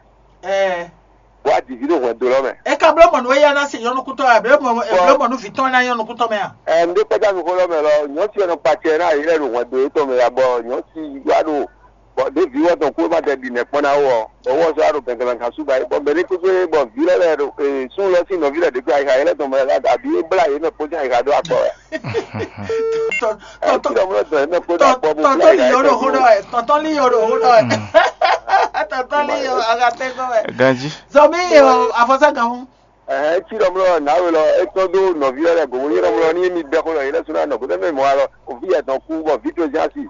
Ɛɛ. Bó wa dǐví ɖo hwɛndo lɔ mɛ. E ka bló mɔ nú éyá ná se nyɔnukútɔ́ wɛ, bló mɔ e bló mɔ nú vǐ tɔn ná nyɔnukútɔ́ mɛ a? Ɛ n ɖe kpɛ́dá mi xó lɔ mɛ lɔ, nyɔ̌ si wɛ nɔ kpatsɛ ná yě lɛ ɖo hwɛndo yětɔn mɛ ya bɔ nyɔ̌ si wa ɖo bɔ ɖěvi wɛ tɔn kú ma ɖɛ ɖi nɛ̌ kpɔ́n ná wú ɔ, bɔ wɔ sɔ́ ɖo gɛngɛlɛnkan sú ba yi bɔ mɛ ní kúkú bɔ vǐ lɛ́ lɛ́ ɖo sun lɔ sín nɔví lɛ́ ɖě kpé ayixa yɛ́ lɛ́ tɔn mɛ lɛ́ ɖo abǐ é blá yě mɛ kpó sín ayixa ɖó akpɔ wɛ. Tɔn- Ɛ tɔn- tí ɖɔmlɔ dɔn yě mɛ kpó dó akpɔ bó blá tɔntɔn ayixa li yɔ yě ɖo mɛ hó kpó. Ɖɔ ɛ tɔntɔn li yɔ ɖo hó ɖɔ ɛ tɔntɔn li yɔ agatɛgbɔ ɛ Ganji. Zɔmi yɔ afɔsagahun. Ɛhɛn, tí ɖɔmlɔ nǎwe lɔ é tɔn dó nɔví lɛ́ lɛ́ gǒ bó nyí ɖɔmlɔ ní émí bɛ́ xó lɔ yě lɛ́ sú ná nɔ kó tɛ́ mɛ mɔ alɔ òví yɛ tɔn kú bɔ vǐ tojí asi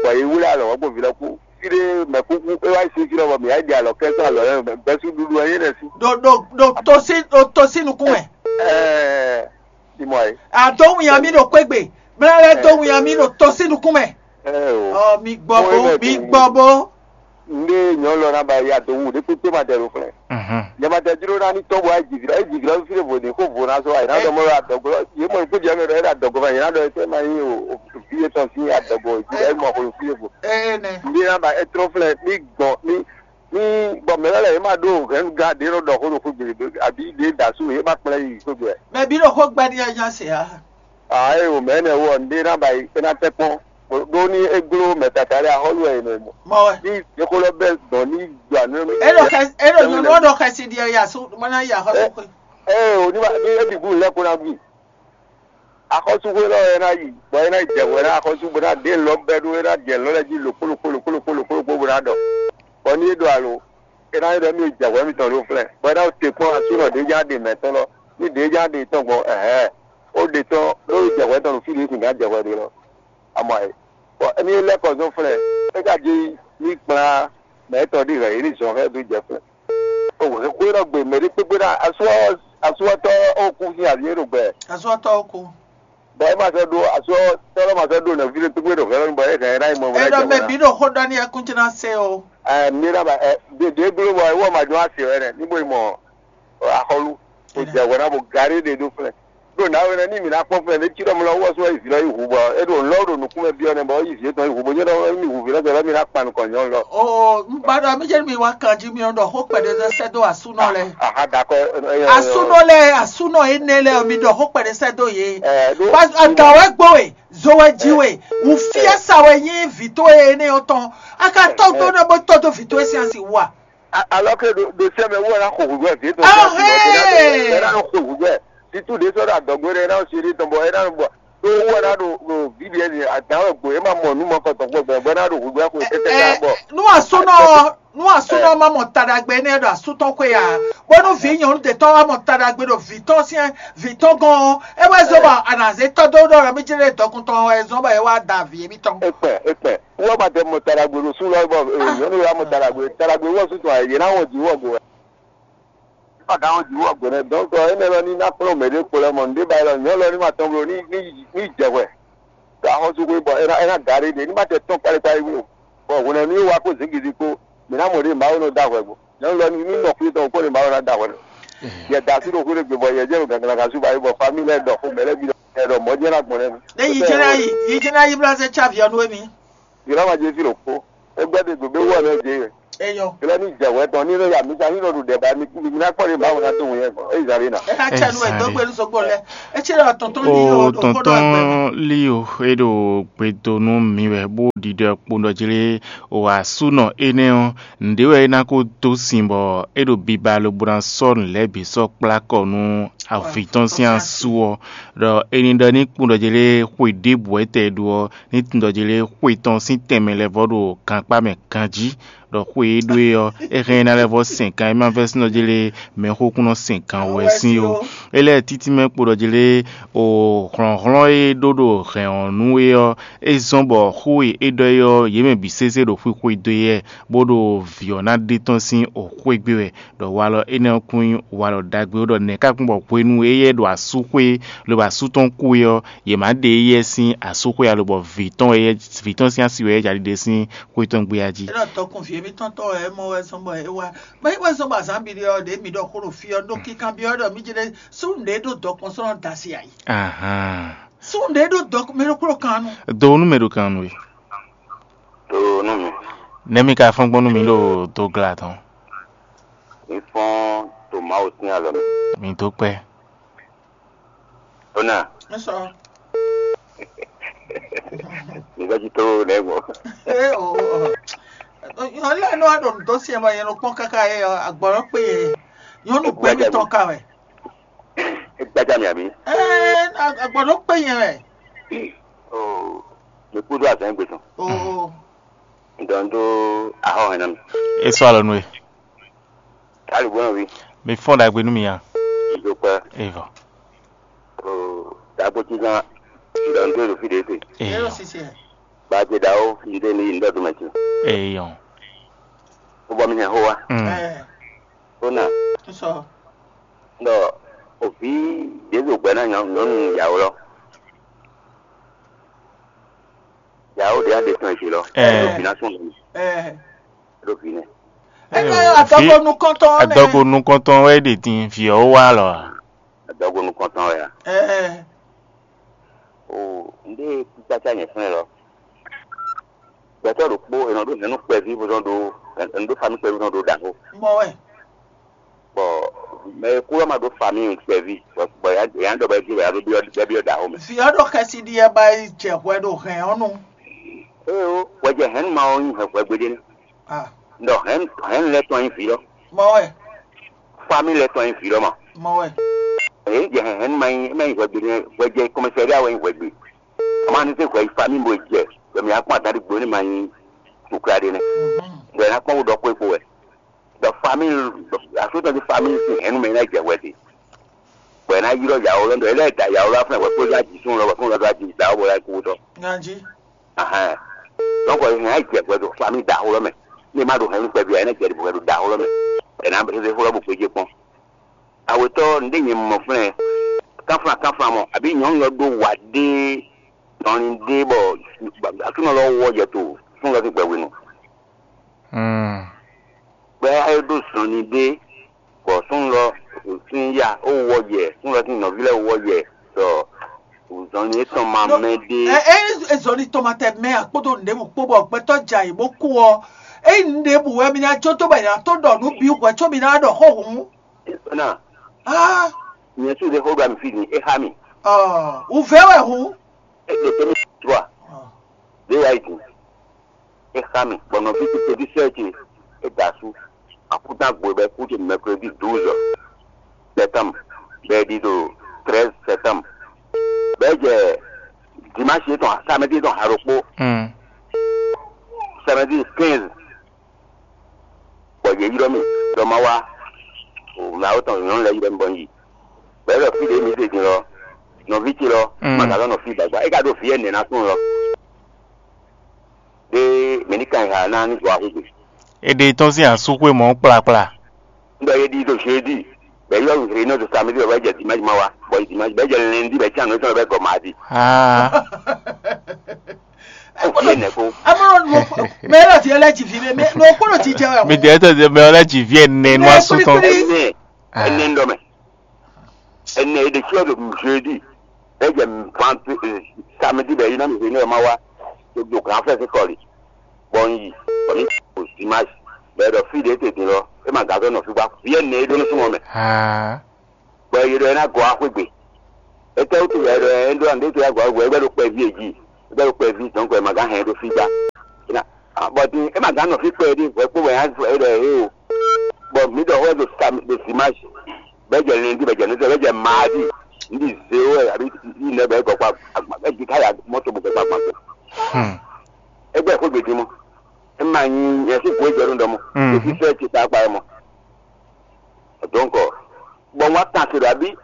bɔ yě wlé alɔ wɔ gbó vǐ lɔ kú. Fí ɖé mɛ kúkú é wá yi sí fí lɔ bɔ mǐ wá yi ɖi alɔ kɛ́ sɔ́ alɔ lɛ́ɛ mɛ gbɛ́sú ɖuɖu wɛ nyí ɖɛ sí. Ɖo ɖo ɖo to sí ɖo to sí nukún mɛ. Ɛɛ, Simɔ e. Àdó wìnyá mi ɖo kpégbè. Blɛ́lɛ́ dó wìnyá mi ɖo to sí nukún mɛ. Ɛɛ o. Ɔ mi gbɔ bó mi gbɔ bó. Nde nyɔlɔ na ba ya do wu ɖe kpekpe ma tɛ ɖo flɛ. Mhm. Nyama tɛ dro na ni tɔ bo ayi jivira e jivira fi le vo de ko vo na so ayi na dɔ mɔ la dɔgɔ ye mɔ ko jɛ mɛ dɔ era dɔgɔ ma ye na dɔ ete ma yi o o fi ye tɔn si ya dɔgɔ ji e mɔ ko fi le vo. Ee nɛ. Nde na ba e trɔ flɛ ni gbɔn ni ni bɔ mɛ lɛ ye ma do hɛn ga de ro dɔ ko do ko gbe abi de da su ye ma kplɛ yi ko gbe. Mɛ bi ɖo xó gbɛ ni ɛ nya se a. Aa e o mɛ ne wɔ nde na ba yi e na tɛ kpɔn. Ɖó ní é gló mɛ tata lɛ́ɛ axɔ́lú wɛ è nɔ mɔ. Mɔ wɛ. Ní yěxo lɛ́ɛ bɛ́ dɔn ní gbà ní. É ɖo xɛ é ɖo nyɔ̌nu ɔ́ ɖo xɛsi ɖi ɛ yi asú mɔ ná yi axɔ́sú xwe. Ée ò ní ma ní é bǐ gún lɛ́ kó ná gún. Axɔ́súxwé lɔ é ná yi bɔ é ná yi jɛ hwɛ ná axɔ́sú bó ná ɖe lɔ bɛ́ ɖó é ná jɛ lɔ lɛ́ɛ jí lǒkpó lǒkpó lǒkpó lǒkpó lǒkpó lǒkpó bó ná ɖɔ. Bɔ ní é ɖo alo é ná ɖɔ mí jɛ hwɛ mitɔn ɖó flɛ́ bɔ é ná te kpɔ́n asúnɔ ɖě já ɖe mɛ̌tɔn lɔ ní ɖě já ɖe tɔn gbɔn ɛ̌ ó ɖe tɔn ɖó jɛ hwɛ tɔn ɖo fí ɖě sǐn gán jɛ hwɛ ɖe lɔ. Amɔ e. Bɔ émí lɛ́ kɔ zɔn flɛ́, é ka jí ní kplá mɛ étɔn ɖi hɛ̌ yě ní zɔn hɛn dó jɛ flɛ́. O hwɛ xwé nɔ gbe mɛ ɖé kpékpé ná asúwatɔ́ ó kú sín avǐ é ɖo gbɛ. Asúwatɔ́ ó kú. Bɔ é ma sɔ́ ɖó asúwatɔ́ lɔ ma sɔ́ ɖó nɔví ɖé kpékpé ɖo hɛ̌ lɔ bɔ é hɛn é ná yi mɔ é ná Ɛɖɔ jɛ mɛ mɔ ná. Bí ɖo xó ɖɔ ní ɛkún tí ná se o. Ɛ mi ná ba ɛ ɖe ɖe gbló bɔ é wɔ ma jɔ asi wɛ nɛ ní bo yi mɔ axɔlu. Kò jɛ hwɛ ná bɔ gaɖé ɖe ɖó flɛ́. Ɖo nǎwe nɛ́ ní mǐ ná kpɔ́n flɛ́ ɖé cí ɖɔ mlɔ wɔ sún wɛ yi vǐ lɔ yi hu bɔ é ɖo lɔ̌ ɖo nǔkún mɛ byɔ́ nɛ́ bɔ yi vǐ étɔn yi hu bó nyɔ́ ɖɔ mì hu vǐ lɔ gbɛ lɔ mì ná kpan nukɔn nyɔ̌nu lɔ. Oo, un ba ɖɔ mí jẹ́ mi wá kan jí mi ɖɔ xó kpɛɖé lɛ́ sɛ́ dó asúnɔ lɛ. Aha dakɔ. Asúnɔ lɛ asúnɔ énɛ́ lɛ mi ɖɔ xó kpɛɖé sɛ́ dó yě. Ɛ ɖó. Aga wɛ gbó we, zo wɛ jí we, wǔ fiɛ sa wɛ nyí vǐ tó énɛ́ ɔ́ tɔn. A ka tɔ́ gbóná bó tɔ́ dó vǐ tó é sín asi wú a? Alors que ɖo ɖo sɛmɛ wɔ na xo hwehwɛ vi tɔn Ahɛɛ! Ɛ na xo hwehwɛ titu ɖe sɔ ɖo adɔgbo ɖe na si ɖe tɔn bɔ ɛ na bɔ ɖo wɔ na ɖo ɖo viɖe ni adan wɛ gbo ɛ ma mɔ nu mɔ kɔtɔ gbɔ gbɔ bɔ na ɖo hwehwɛ xo tɛtɛ ka bɔ. Nu asúnɔ nu asúnɔ ma mɔ taɖagbe nɛ ɖo asútɔ xwe ya bɔnu vi nyɔnu detɔ wa mɔ taɖagbe ɖo vitɔ siɛ vitɔ gɔn ɛ wɛ zɔ bɔ anaze tɔ do ɖɔ mi jɛ ɖe dɔkuntɔ ɛ zɔn bɔ ɛ wa da vi mi tɔn. Ekpɛ ekpɛ. Wɔ ma tɛ mɔ taɖagbe ɖo sú lɔ bɔ nyɔnu ya mɔ taɖagbe taɖagbe wɔ sú tɔn yě ná wɔ jǐ wɔ go wɛ. Ɔ́ ná wɔ jǐ wɔ go nɛ dɔn tɔ énɛ́ lɔ ní ná kplɔ́n mɛ ɖé kpo lɛ mɔ nǔɖé ba lɔ nyɔ̌ lɔ ní ma tɔn bló ní ní ní jɛ hwɛ. Ɖo axɔ́súxwé bɔ é ná é ná gaɖé ɖě ní ma tɛ tɔ́n kpálíkpálí wú o. Bɔ hwlɛ̌nu e wá kó zǐngídi kpó, mǐ ná mɔ ɖě Mawu nɔ dó ahwɛ gbɔn. Nyɔ̌nu lɔ ní nɔ xwé tɔn kpó ɖě Mawu ná dó ahwɛ nɔ. Yɛ da así ɖo xwé ɖé gbe bɔ yɛ jɛ ɖo ganglagan sú ba yi bɔ famille lɛ́ɛ ɖɔ xó mɛ lɛ́ɛ bǐ ɖɔ ɖɔ mɔ̌ jɛ́n ná gbɔn nɛ́. Ɖé yi jɛ́n ná yi yi jɛ́n ná yi blá zɛ cávi ɔ́ nú émí. Yě ná ma jɛ fí ɖokpó. É gbɛ́ ɖé gbe bó wú ɔ́ nɛ́ jɛ. Eyɔ. Yě lɛ́ ní jɛ wɛ tɔn ní nɔ ya mi sa ní nɔ ɖu ɖɛ ba mi kú mi ná kpɔ́ ɖé Mawu ná dó wun yɛ gbɔn. É yi zan ɖé ná. É ná cɛ nú ɛ dó gbe nú sɔgbó lɛ. É cɛ ɖɔ tɔntɔn ní O o ɖo xó ɖɔ tɔntɔn agbe. Lio, é ɖo gbe dó nú mì wɛ bó ɖiɖɔ kpondɔ jí lé. O asúnɔ énɛ́ ɔ́, nǔɖé wɛ é ná kó dó sin bɔ é ɖo biba lobo ná sɔ́ nǔ lɛ́ɛ bǐ sɔ́ kplá kɔ nú avǐ tɔn sín asú ɔ́, ɖɔ é ní ɖɔ ní kpondɔ jí lé xwe ɖěbǔ wɛ tɛ ɖu ɔ́, ní tundɔ jí lé xwe tɔn sín tɛnmɛ lɛ́ vɔ ɖo gankpá mɛ ganjí, ɖɔ xwe e ɖó e ɔ́, é hɛn ná lɛ́ vɔ sɛn kan e ma vɛ́ sín ɔ́ jí lé mɛxókúnɔ sɛn kan wɛ sín ó. É lɛ́ títí mɛ kpo ɖɔ jí lé o hlɔ̌nhlɔ́n e ɖó ɖo hɛn ɔ́ nú é ɔ́, é zɔ́n bɔ xó e é ɖɔ é ɔ́, yě mɛ bǐ sésé ɖo xwixwe dó e, bó ɖo vǐ ɔ́ ná ɖe tɔ́n sín o xwé gbé wɛ, ɖɔ walɔ énɛ́ ɔ́ kún nyí walɔ ɖagbe ó, ɖɔ nɛ̌ ka kún bɔ hwenu e éyɛ́ ɖo asú xwé lobo asú tɔn kú é ɔ́, yě má ɖe éyɛ́ sín asú xwé alo bɔ vǐ tɔn wɛ éyɛ́ vǐ tɔn sín asi wɛ éyɛ́ jɛ ɖiɖe sín xwé tɔn gbé a jí. É ɖɔ dɔkun vǐ émítɔn tɔn wɛ é mɔ wɛ zɔn bɔ é wá. Bɔ é wɛ zɔn bɔ azǎn bi ɖe ɔ́, ɖě mǐ ɖɔ xó ɖo fí ɔ́ ɖó kíkan byɔ́ ɖɔ mí jlé sú nǔɖé ɖó dɔkun sɔ́ nɔ da asi ayǐ. Ahan. Sú nǔɖé ɖó dɔkun mɛ ɖokpó ɖo kan nu. Do nú mɛ ɖo kan nu e. Do nú mi. Nɛ́ mi ka fɔ́n gbɔn nú mi ɖo dogla tɔn. Mi fɔ́n to Mawu sín alɔ mɛ. Mi dó kpɛ́. Ona. Nsɔ. Nígbà tí tó nẹ gbɔ. Ee o o. Nyɔnu lɛ nɔ wa ɖo nǔ dó siɛ ma yɛn nɔ kpɔn kaka yɛ agbɔnɔ kpe yɛ. Nyɔnu gbɛ mi tɔn ka wɛ. Egbaja mi abi. Ee agbɔnɔ kpe yɛ wɛ. O, mi kúdó azɛn gbèsò. O o. Ŋdɔ ŋdó ahɔ hɛn nɔ mi. E sɔ alɔ nú e. Kálí gbɔn ví. Mi fɔn ɖagbe nú mi ya. Ìdókòwò. Evɔ. O, dàgbò tí gan. Ŋdɔ ŋdó ìlú fìdí ètè. Eyɔ. Gbàgbé dàó ŋdé ní ŋdɔ tó mẹ tì. Eyɔ. Ó bɔ mi hɛn xó wa. Mm. Ó nà. Sɔ. Ŋdɔ òfin Jésù gbɛ náà nyɔnu ìyàwó lɔ. Ìyàwó ɖé adé tán ìṣe lɔ. Ɛ. Òfin náà sùn lọ. Ɛ. Ló fi nɛ. Ɛ, ɛ, adɔgo nukɔntɔn nɛ. Adɔgo nukɔntɔn wɛ ɖe din fi ɔ wa lɔ. Adɔgo nukɔntɔn wɛ a. Ɛ. O, nde kpikpata nyɛ fún ɛ lɔ. Gbɛtɔ ɖokpó enɔ ɖo nɛnu kpɛví bó zɔn ɖo enɔ ɖo fami kpɛví bó zɔn ɖo ɖaho. Mɔ wɛ. Bɔ mɛ e kú ɔ́ ma ɖó fami kpɛví bɔ bɔ ya ya ɖɔ bɛ ɖi bɛ ya ɖo byɔ bɛ byɔ ɖaho mɛ. Fi ɔ́ ɖo xɛsi ɖi ɛ ba yi jɛ hwɛ ɖo hɛn ɔ́ nu. Ee o, hwɛjɛ hɛn ma ɔ́ nyi hɛn hwɛ gbeɖé. Ah. Ndɔ hɛn hɛn lɛ tɔn nyi vǐ lɔ. Mɔ wɛ. Fami lɛ tɔn nyi vǐ lɔ ma. Mɔ wɛ. Ee jɛ hɛn hɛn ma nyi ma nyi hwɛ gbeɖé, hwɛjɛ kɔmɛsɛri awɛ nyi hwɛ gbe. Ama ní sɛ hwɛ yi fami bo jɛ bɛ mi akpɔn atan ɖi gbo ní ma nyi tukla ɖé nɛ. Bɛ na kpɔn wo ɖɔ kpó kpó wɛ. Dɔ fami asotɔ ti fami si hɛn nu mɛ na jɛ hwɛ ti. Bɔ ɛ na yi lɔ yawo lɔ dɔ ɛ lɛ da yawo lɔ afuna wɛ kpó ya ji sun lɔ wɛ fún lɔ do aji da wɔ bɔ ya kú tɔ. Ganji. Ahan. Donc ɛ hɛn ayi jɛ hwɛ do fami da xó lɔ mɛ. Ne ma do hɛn nu kpɛ bi ɛ na jɛ di hwɛ do da xó lɔ mɛ. Ɛ na bɛ se xó lɔ bo kpé jɛ kpɔn. Awetɔ nde nyɛ mɔ flɛ. Kanflan kanflan mɔ abi nyɔnu lɔ do wa de dɔnni de bɔ atunɔ lɔ wɔ jɛ to fún lɔ ti gbɛ wenu. Hmm. Gbɛ ayé ɖó zɔnni ɖé bɔ súnnu lɔ sín ya ó wɔ yɛ súnnu lɔ sín nɔví lɛ́ɛ wɔ yɛ ɖɔ zɔnni étɔn ma mɛ ɖé. Ɛ ɛ zɔnni tɔn ma tɛ mɛ akpódó nǔɖébǔ kpó bɔ gbɛtɔ́ jɛ ayǐ bó kú ɔ́, ényí nǔɖébǔ wɛ mi ná jó dó bɔ è nǎ tó ɖɔ nǔ bǐ hwɛ̌ có mi ná ɖɔ xó hǔn. Ná Ah, nyɛ sú ɖe xó ɖo ami fí din é xá mi. Ɔ wǔvɛ́ wɛ hǔn. É ɖo tɛ́mɛ trua. Ɔ. Ɖé wá yi din. É xá mi bɔ nɔví ce tɛbí sɛ́ ce é da asú. Akútagbo bɛ kú ce mercredi douze septembre bɛ ɖi ɖo treize septembre bɛ jɛ dimanche yětɔn samedi yětɔn ha ɖokpó. Hmm. Samedi quinze bɔ yě ylɔ́ mì ɖɔ ma wá. Mɛ awo tɔn nyɔ̌nu lɛ́ɛ ylɔ́ mì bɔ un yi. Bɔ é ɖɔ fí ɖě mi ɖe din lɔ, nɔví ce lɔ, Mm. ma ka lɔ nɔ fí gbagba. É ka ɖo vǐ ɛnɛ ná tún lɔ. Ɖé mɛ ní kan ha ná ní zɔ axúgbe. Èdè tɔn sín asúxwé mɔ̌ kplakpla. Un ɖɔ yě ɖi ɖo jeudi, bɔ é ylɔ́ mì réunion ɖo samedi bɔ é jɛ dimanche ma wá, bɔ dimanche bɔ é jɛ lundi bɔ é can nǔ étɔn bɔ é gɔ mardi. Ah. Kú fi ɛnɛ kó. Amɔnɔ nu mɛ lɔ fi lɛ dzi fi mɛ nu kpɔnɔ dzi jɛ wɛ. Mi dɛ tɛ mɛ lɛ dzi fi ɛnɛ nu asu tɔn. Ɛnɛ ɛnɛ ŋdɔ mɛ. Ɛnɛ e ɖe tsi ɔ́ ɖo jeudi. Ɛ jɛ vante samedi bɛ yi na mi hwenu ɛ ma wa. Do grand frère kɔli. Bɔn yi bɔn mi o zimage bɛ ɖɔ fi ɖe tete lɔ e ma gazɔ nɔ fi gba fi ɛnɛ e ɖo nusumɔ mɛ. Bɔ yě ɖɔ é ná gɔ́ axwé gbe. Étɛ́wútu wɛ é ɖɔ é ɖó ǎ, ɖětɔ́ yá gɔ́ axwé gbe? É bɛ́ ɖo kpɛví e jí, é bɛ́ ɖo kpɛví, dɔ̌nkɔ è ma gán hɛn ɖó fí gbá. Bɔ din é ma gán nɔ fí kpɛɖé hwɛ kpó wɛ é ɖɔ é o. Bɔ mǐ ɖɔ hwɛ ɖo sa ɖo zimage, bɛ́ jɛ lundi, bɛ́ jɛ nǔsɛ, bɛ́ jɛ maadi, ní di zéwó wɛ àbí ní nɛ bɛ gɔkpa agba bɛ di káyà mɔto bɔ gɔkpa agba. Égbé xwé gbèdé mɔ. É ma nyí nyɛ sí kú éjɔ ɖó ɖɔmɔ. Èsì sɛ ti ta kpa mɔ. Donc, bɔ wá tàn sí ɖɔ àbí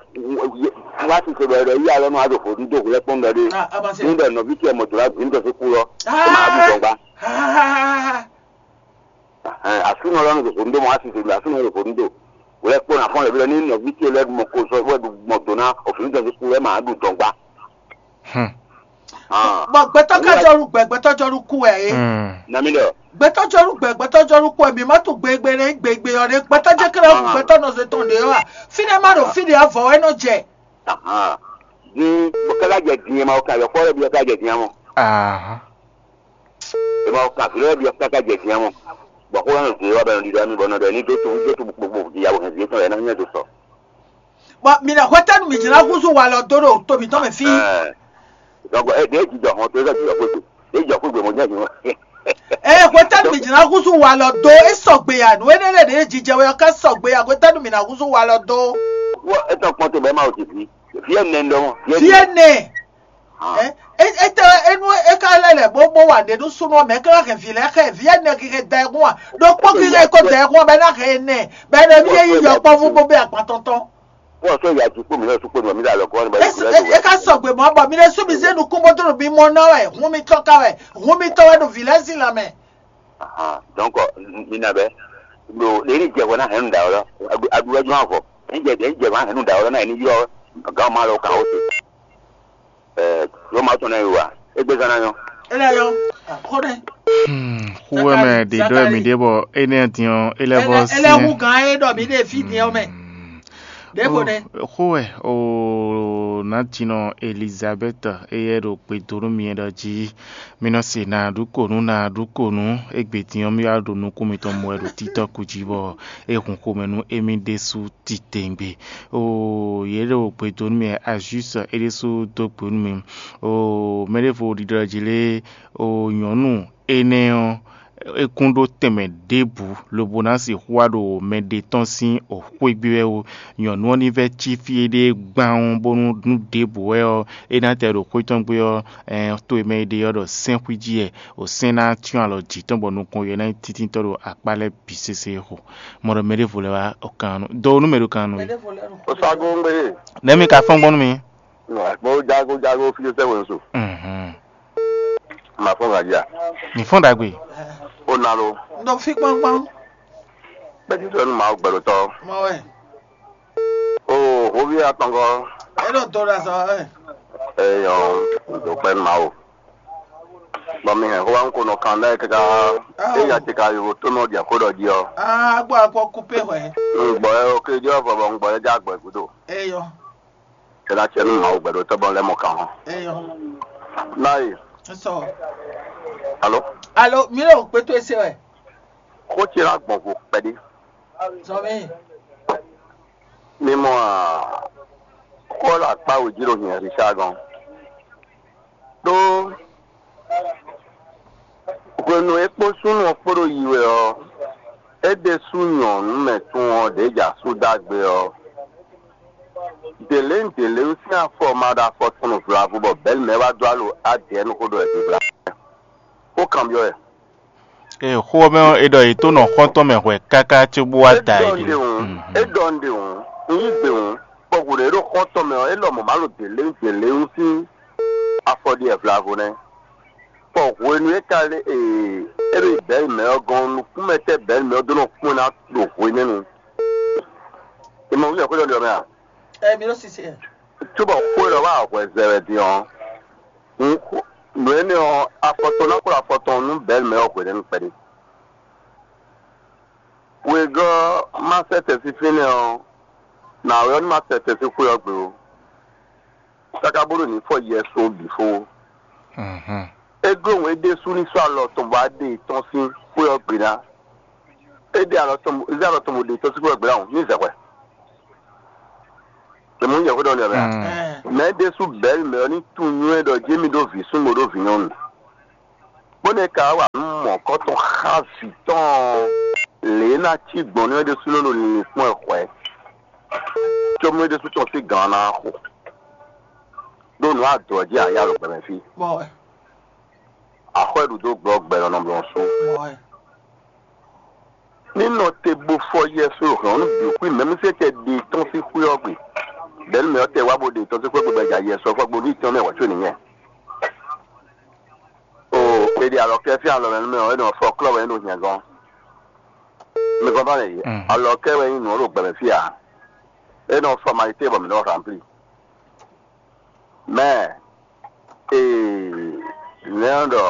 wá sì sɔ̀rọ̀ rẹ̀ yí alọ́ nù adò fò dídó hùlẹ́ kpɔ́n ɖɔ dé. Ní ɖɔ nɔví tiẹ̀ mọ̀ jòlá gbìn tɔ sí kú lɔ. Ó máa dùn dɔ̀gba. Àsúnà lọ́nà dò fò dídó mọ́ wá sì sọ̀rọ̀ àsúnà dò fò dídó. Hùlẹ́ kpɔ́n àfọ́n lẹ́bi lọ ní nɔví tiẹ̀ lẹ́nu mọ̀ kó sọ wẹ́ mọ̀ dò ná òfin tɔ sí kú lɔ é máa dùn dɔ̀gba. Bɔ gbɛtɔ́ ká jɔnu gbɛ gbɛtɔ́ jɔnu kú wɛ é. Nami ɖɔ. Gbɛtɔ́ jɔnu gbɛ gbɛtɔ́ jɔnu kú wɛ mǐ má tunwun gbegbe nɛ gbegbe ɔ́ ɖé gbɛtɔ́ jɛ kɛlɛ gbɛtɔ́ nɔ se tɔn ɖě ɔ́ a? Fínɛ́ má ɖo fí ɖě avɔ wɛ nɔ jɛ. Din bɔ káká jɛ din ma o kan yɔ fɔ lɛ bi káká jɛ din amɔ. Ema o kan fi lɛ bi káká jɛ din amɔ. Bɔ kó lɛ nɔ zin wa bɛ nɔ ɖiɖɔ ami bɔ nɔ ɖɔ ni dó to dó to gbogbo di yawo hɛn vi etɔn lɛ na nyɛ do sɔ. Bɔ mi nɔ hwɛtɛnu mi jlá húzú walɔ dó ɖo to mǐtɔn mɛ fí. Donc ɛ ɖe jijɔ hɔn to ɛ jijɔ xwé to ɛ jijɔ xwé gbé mo jẹ jù. Ɛ hwɛtɛnu mi jlá húzú walɔ dó é sɔgbe ya nǔ énɛ́ lɛ ɖě jijɛ wɛ ɔ́ ká sɔgbe ya hwɛtɛnu mi ná húzú walɔ dó. Wɔ etɔn kpɔn to bɛ ma o ti fi fi ɛ nɛ ndɔ mɔ fi ɛ nɛ. Ɛ ɛ tɛ enu e ka lɛ lɛ bó bó wa ɖe nú súnú mɛ ká hɛn vǐ lɛ xɛ vǐ ɛ nɛ kike da ɛ hún a ɖo kpɔ́ kike ko da ɛ hún a bɛ ná hɛn ɛ nɛ bɛ nɔ mi yɛ yi yɔ kpɔ́ fún bó bɛ agban tɔntɔn. Wọ́n sọ ìyá àti kúrò mi náà tún pé mi wà mí lálọ́ kọ́ ní báyìí. E ka sɔgbe mɔ bɔ mi ɖe súnmi zé nukún bó dó mi mɔ ná wɛ hún mi tɔn ká wɛ hún mi tɔn wɛ ɖo vǐ lɛ́ɛ sín lanmɛ. Donc mi nà bɛ ɖo lè ní jɛ hwɛ ná hɛn nu ɖa wɛ lɔ aɖu wɛ jɔn avɔ ní jɛ ní jɛ hwɛ ná hɛn nu ɖa wɛ lɔ ná yɛ ní ylɔ gán ma lɔ kàn ó se. Yɔ ma tɔn ná yi wa égbé zán ná nyɔ. Ele yɔ xo ɖe. Xó wɛ mɛ ɖě ɖɔ mì ɖě bɔ énɛ́ din ɔ́ é lɛ́ vɔ syɛ́n. Ele hu gán é ɖɔ mì ɖe fí din ɔ́ mɛ. Ɖěvo ɖe. Xó wɛ o nǎjínɔ Elizabɛ́t éyɛ́ ɖo gbe dó nú mi ɖɔ jí mi nɔ se nǎ ɖu kǒ nú nǎ ɖu kǒ nú égbé din ɔ́ mì wá ɖo nukún mitɔn mɔ wɛ ɖo títɔ́ kú jí bɔ é hun xomɛ nú émí ɖésú titewungbe. Oo yě ɖo gbe dó nú mì wɛ Azús é ɖésú dó gbe nú mì. Oo mɛ ɖěvo ɖiɖɔ jí lé oo nyɔ̌nu énɛ́ ɔ́ é kún ɖó tɛnmɛ ɖěbǔ lobo ná sixú wá ɖo mɛɖé tɔn sín xwé gbé wɛ ó. Nyɔ̌nu ɔ́ ní vɛ́ cí fí éɖée gbán ɔ́ bónú nú ɖěbǔ wɛ ɔ́ é ná tɛ ɖo xwé tɔn gbé ɔ́, to e mɛ e ɖe ɔ́ ɖɔ sɛ́n xwíjí wɛ, o sɛ́n ná cyɔ́n alɔ jǐ tɔn bɔ nukɔn yɛ ná nyí tíntínntɔ́ ɖo akpá lɛ́ɛ bǐ sésé xo. Mɔ ɖɔ mɛ ɖěvo lɛ́ɛ wá o kan nú dó nú mɛ ɖo kan nú we. O sa go ŋgbe ye. Nɛ̌ mi ka fɔ́n gbɔn nú mi? Mo jago jago fi sɛ wɛ so. Mhm. Ma fɔ́n gadia. Mi fɔ́n ɖagbe. O na lo. N ɖo fí kpɔ́nkpɔ́n. Bɛtitɔ nu ma gbɛɖotɔ. Mɔ wɛ. O hovi atɔngɔ. E ɖo do ɖe azɔ ɛ. Eyɔ, do kpɛ ma o. Bɔn mi hɛn xó wa ń ko nɔ kan ɖe kaka. Eya ti ka yovo tó nɔ dia xó ɖɔ jí ɔ. Aa gbɔ akpɔ kúpe hwɛ. Ŋgbɔ ɛ o ke jɔ vɔ bɔ ŋgbɔ ɛ já gbɛ gudo. Eyɔ. Kɛlɛ atsɛ nu ma o gbɛɖotɔ bɔ lɛ mɔ kan hɔn. Eyɔ. Nayi. Sɔ. Alo. Alo mi le o kpɛtɔ ese wɛ. Xó ce la gbɔn vo kpɛɖé. Zɔmi. Mi mɔ a xó la kpá wǒ jí ɖo hiɛ Richard gɔn. Ɖó hwenu e kpó súnnu ɔ́ kpó ɖo yi wɛ ɔ́, é ɖésú nyɔ̌nu mɛ tún ɔ́ ɖě jɛ asú dó agbe ɔ́, děléŋ děléŋ sín afɔ ma ɖo afɔ tɔn vlavo bɔ bɛ̌li mɛ wá dó alo adɛ̌ nú xó ɖɔ wɛ dó vla. Xó kanbyɔ́ wɛ. Ee, xó ɔ́ mɛ ɔ́, è ɖɔ yě tó nɔ xɔ́ntɔn mɛ hwɛ káká cóbó wá da yě ɖe. É ɖɔ un ɖe hǔn, un yí gbe hǔn, bɔ hǔn e ɖo xɔ́ntɔn mɛ ɔ́, é lɔmɔ̌ má ɖo dě léwún dě léwún sín afɔ ɖi wɛ vlavo nɛ́. Bɔ hwenu e ka lé ee é ɖo bɛ̌li mɛ ɔ́ gɔ́n, nukúnmɛ tɛ́ bɛ̌li mɛ ɔ́ dó nɔ kpɔ́n ná ɖo hwenɛ́nu? È mɔ wúzɛ xwé ɖɔ ɖi ɔ́ mɛ a? Ɛ mi ɖo sisi ɛ. Cóbɔ xó e ɖɔ wá hwɛ zɛ wɛ din ɔ́, un xo Nǔ énɛ́ ɔ́, afɔtɔn ná kplɔ́n afɔtɔn nú Bɛɛlmɛ ɔ́ hwelɛ́nu kpɛɖé. Wegɔ́ má sɛ́ tɛ́ sín fínɛ́ ɔ́, nǎwe ɔ́ ní ma sɛ́ tɛ́ sín xwé ɔ́ gbe ó, káká bónú ní fɔ Yɛsu ɔ́ bǐ fó ó. É gló wɛn é ɖésú ní sɔ́ alɔ tɔn bɔ á ɖe tɔ́n sín xwé ɔ́ gbe ná. É ɖe alɔ tɔn, é zé alɔ tɔn bó ɖe tɔ́n sín xwé ɔ́ gbe ná hǔn ní zɛ hwɛ. È mɔ nyɛ xwé ɖɔ nɛ́ mɛ a? Mɛ ɖésú Bɛɛlmɛ ɔ́ ní tunwun nywɛ́ ɖɔ jí émí ɖó vǐ súnnu bó ɖó vǐ nyɔ́nu, bó nɛ́ ka wá nú mɔ̌kɔ́tɔn xá vǐ tɔn lě e ná cí gbɔn nú é ɖésúnɔ ɖo linlin kpɔ́n ɛ hwɛ̌, cóbónú é ɖésú tɔn sín gǎn ná xo. Ɖó nǔ adǒ ɔ́ jí ǎ yá ɖo gbɛmɛ fí. Axɔ́ e ɖu dó gbɔ gbɛ lɔ nɔ blɔ́ sú. Ní nɔ te bó fɔ Yɛsu hɔn nú bǐ xwí mɛ̌mísɛ́tɛ́ ɖe tɔ́n sín xwé ɔ́ gbe. Bɛ̌númɛ ɔ́ tɛ wá bó ɖe tɔ́n sín xwé gbe bɔ ja Yɛsu ɔ́ fɔ gbo ní tɔn mɛ wǎ có nìyẹn. O, è ɖe alɔ kɛ fí alɔ mɛ nú mɛ ɔ́, é nɔ fɔ klɔ́ wɛ é nɔ hiɛ gɔ́n. Mi gɔ́n bá lɛ yě. Alɔ kɛ wɛ nyí nǔ ɔ́ ɖo gbɛmɛ fí ǎ. É nɔ fɔmalité bɔ mǐ nɔ ranplí. Mɛ ee, nɛ̌ ɖɔ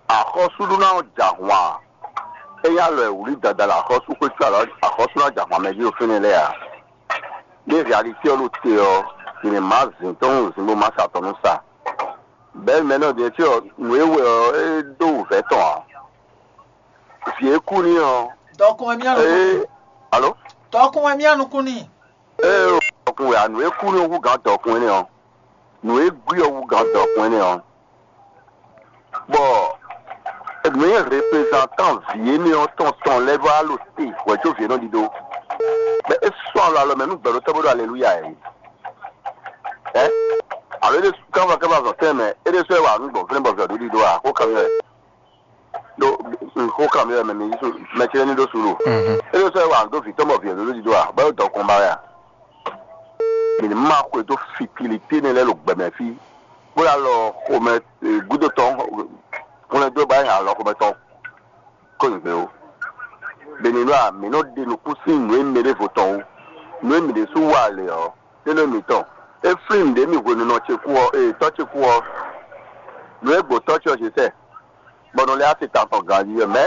axɔ́súɖúná ɔ́ jɛ ahwan a? É nyí alɔ e wlí dada ɖo axɔ́súxwé có alɔ axɔ́súɖúná jɛ ahwan mɛ jí ɖo fínɛ́ lɛ́ɛ a? Ní réalité ɔ́ ɖo te ɔ́, è nǐ má zǐn tɔn nú zǐn bó má sa tɔn nú sa. Bɛ̌ mɛ nɔ din ɔ́, nǔ e wɛ ɔ́, é ɖó wǔvɛ́ tɔn ǎ. Vǐ e kú n'i ɔ́, Dɔkun wɛ mía nukún ee, alo? Dɔkun wɛ mía nukún n'i. Ee, dɔkun wɛ a, nǔ e kú n'i ɔ́ hú gǎn dɔkun énɛ́ ɔ́. Nǔ e gbí ɔ́ hú gǎn dɔkun énɛ́ ɔ́. Bɔ nǔ e reprezantan vǐ énɛ́ ɔ́ tɔn tɔn lɛ́ɛ vɔ alo te hwɛ̌ có vǐ énɛ́ ɔ́ ɖidó. Bɔ é sɔ́ alɔ alɔ mɛ nú gbɛ̌ɖótɔ́ bó ɖo aleluya ɛ. Ɛ? Alo é ɖésú kánvɔ kánvɔ azɔn tɛnmɛ, é ɖésú wɛ wa nǔ gbɔn fínɛ́ bɔ vǐ ɔ́ ɖó ɖidó a? Xó kanbyɔ́ wɛ. Ɖó xó kanbyɔ́ wɛ mɛ mi yí mɛ ce ní ɖó suɖu. É ɖésú wɛ wa nǔ dó vǐ tɔn bɔ vǐ ɔ́ ɖó ɖidó a? Bɔ é dɔkun ba wɛ a? Mǐ ní má xwedó fitilité nɛ́ lɛ́ɛ ɖo gbɛmɛ fí, bó ɖo alɔ xomɛ gúdo tɔn hwlɛ́ndó ba nyi alɔ xomɛ tɔn kó nyi gbé ó. Beninu a, mǐ nɔ ɖe nukún sín nǔ e mɛ ɖěvo tɔn wú. Nǔ e mǐ ɖésú wa lě ɔ́, é nɔ mǐtɔn. É flín nǔɖé mì hwenu nɔ ce kú ɔ́, ee tɔ́ ce kú ɔ́, nǔ e gbǒ tɔ́ ce ɔ́ ce sɛ, bɔ nɔ lɛ́ asi tantɔn ganjí ɔ́ mɛ.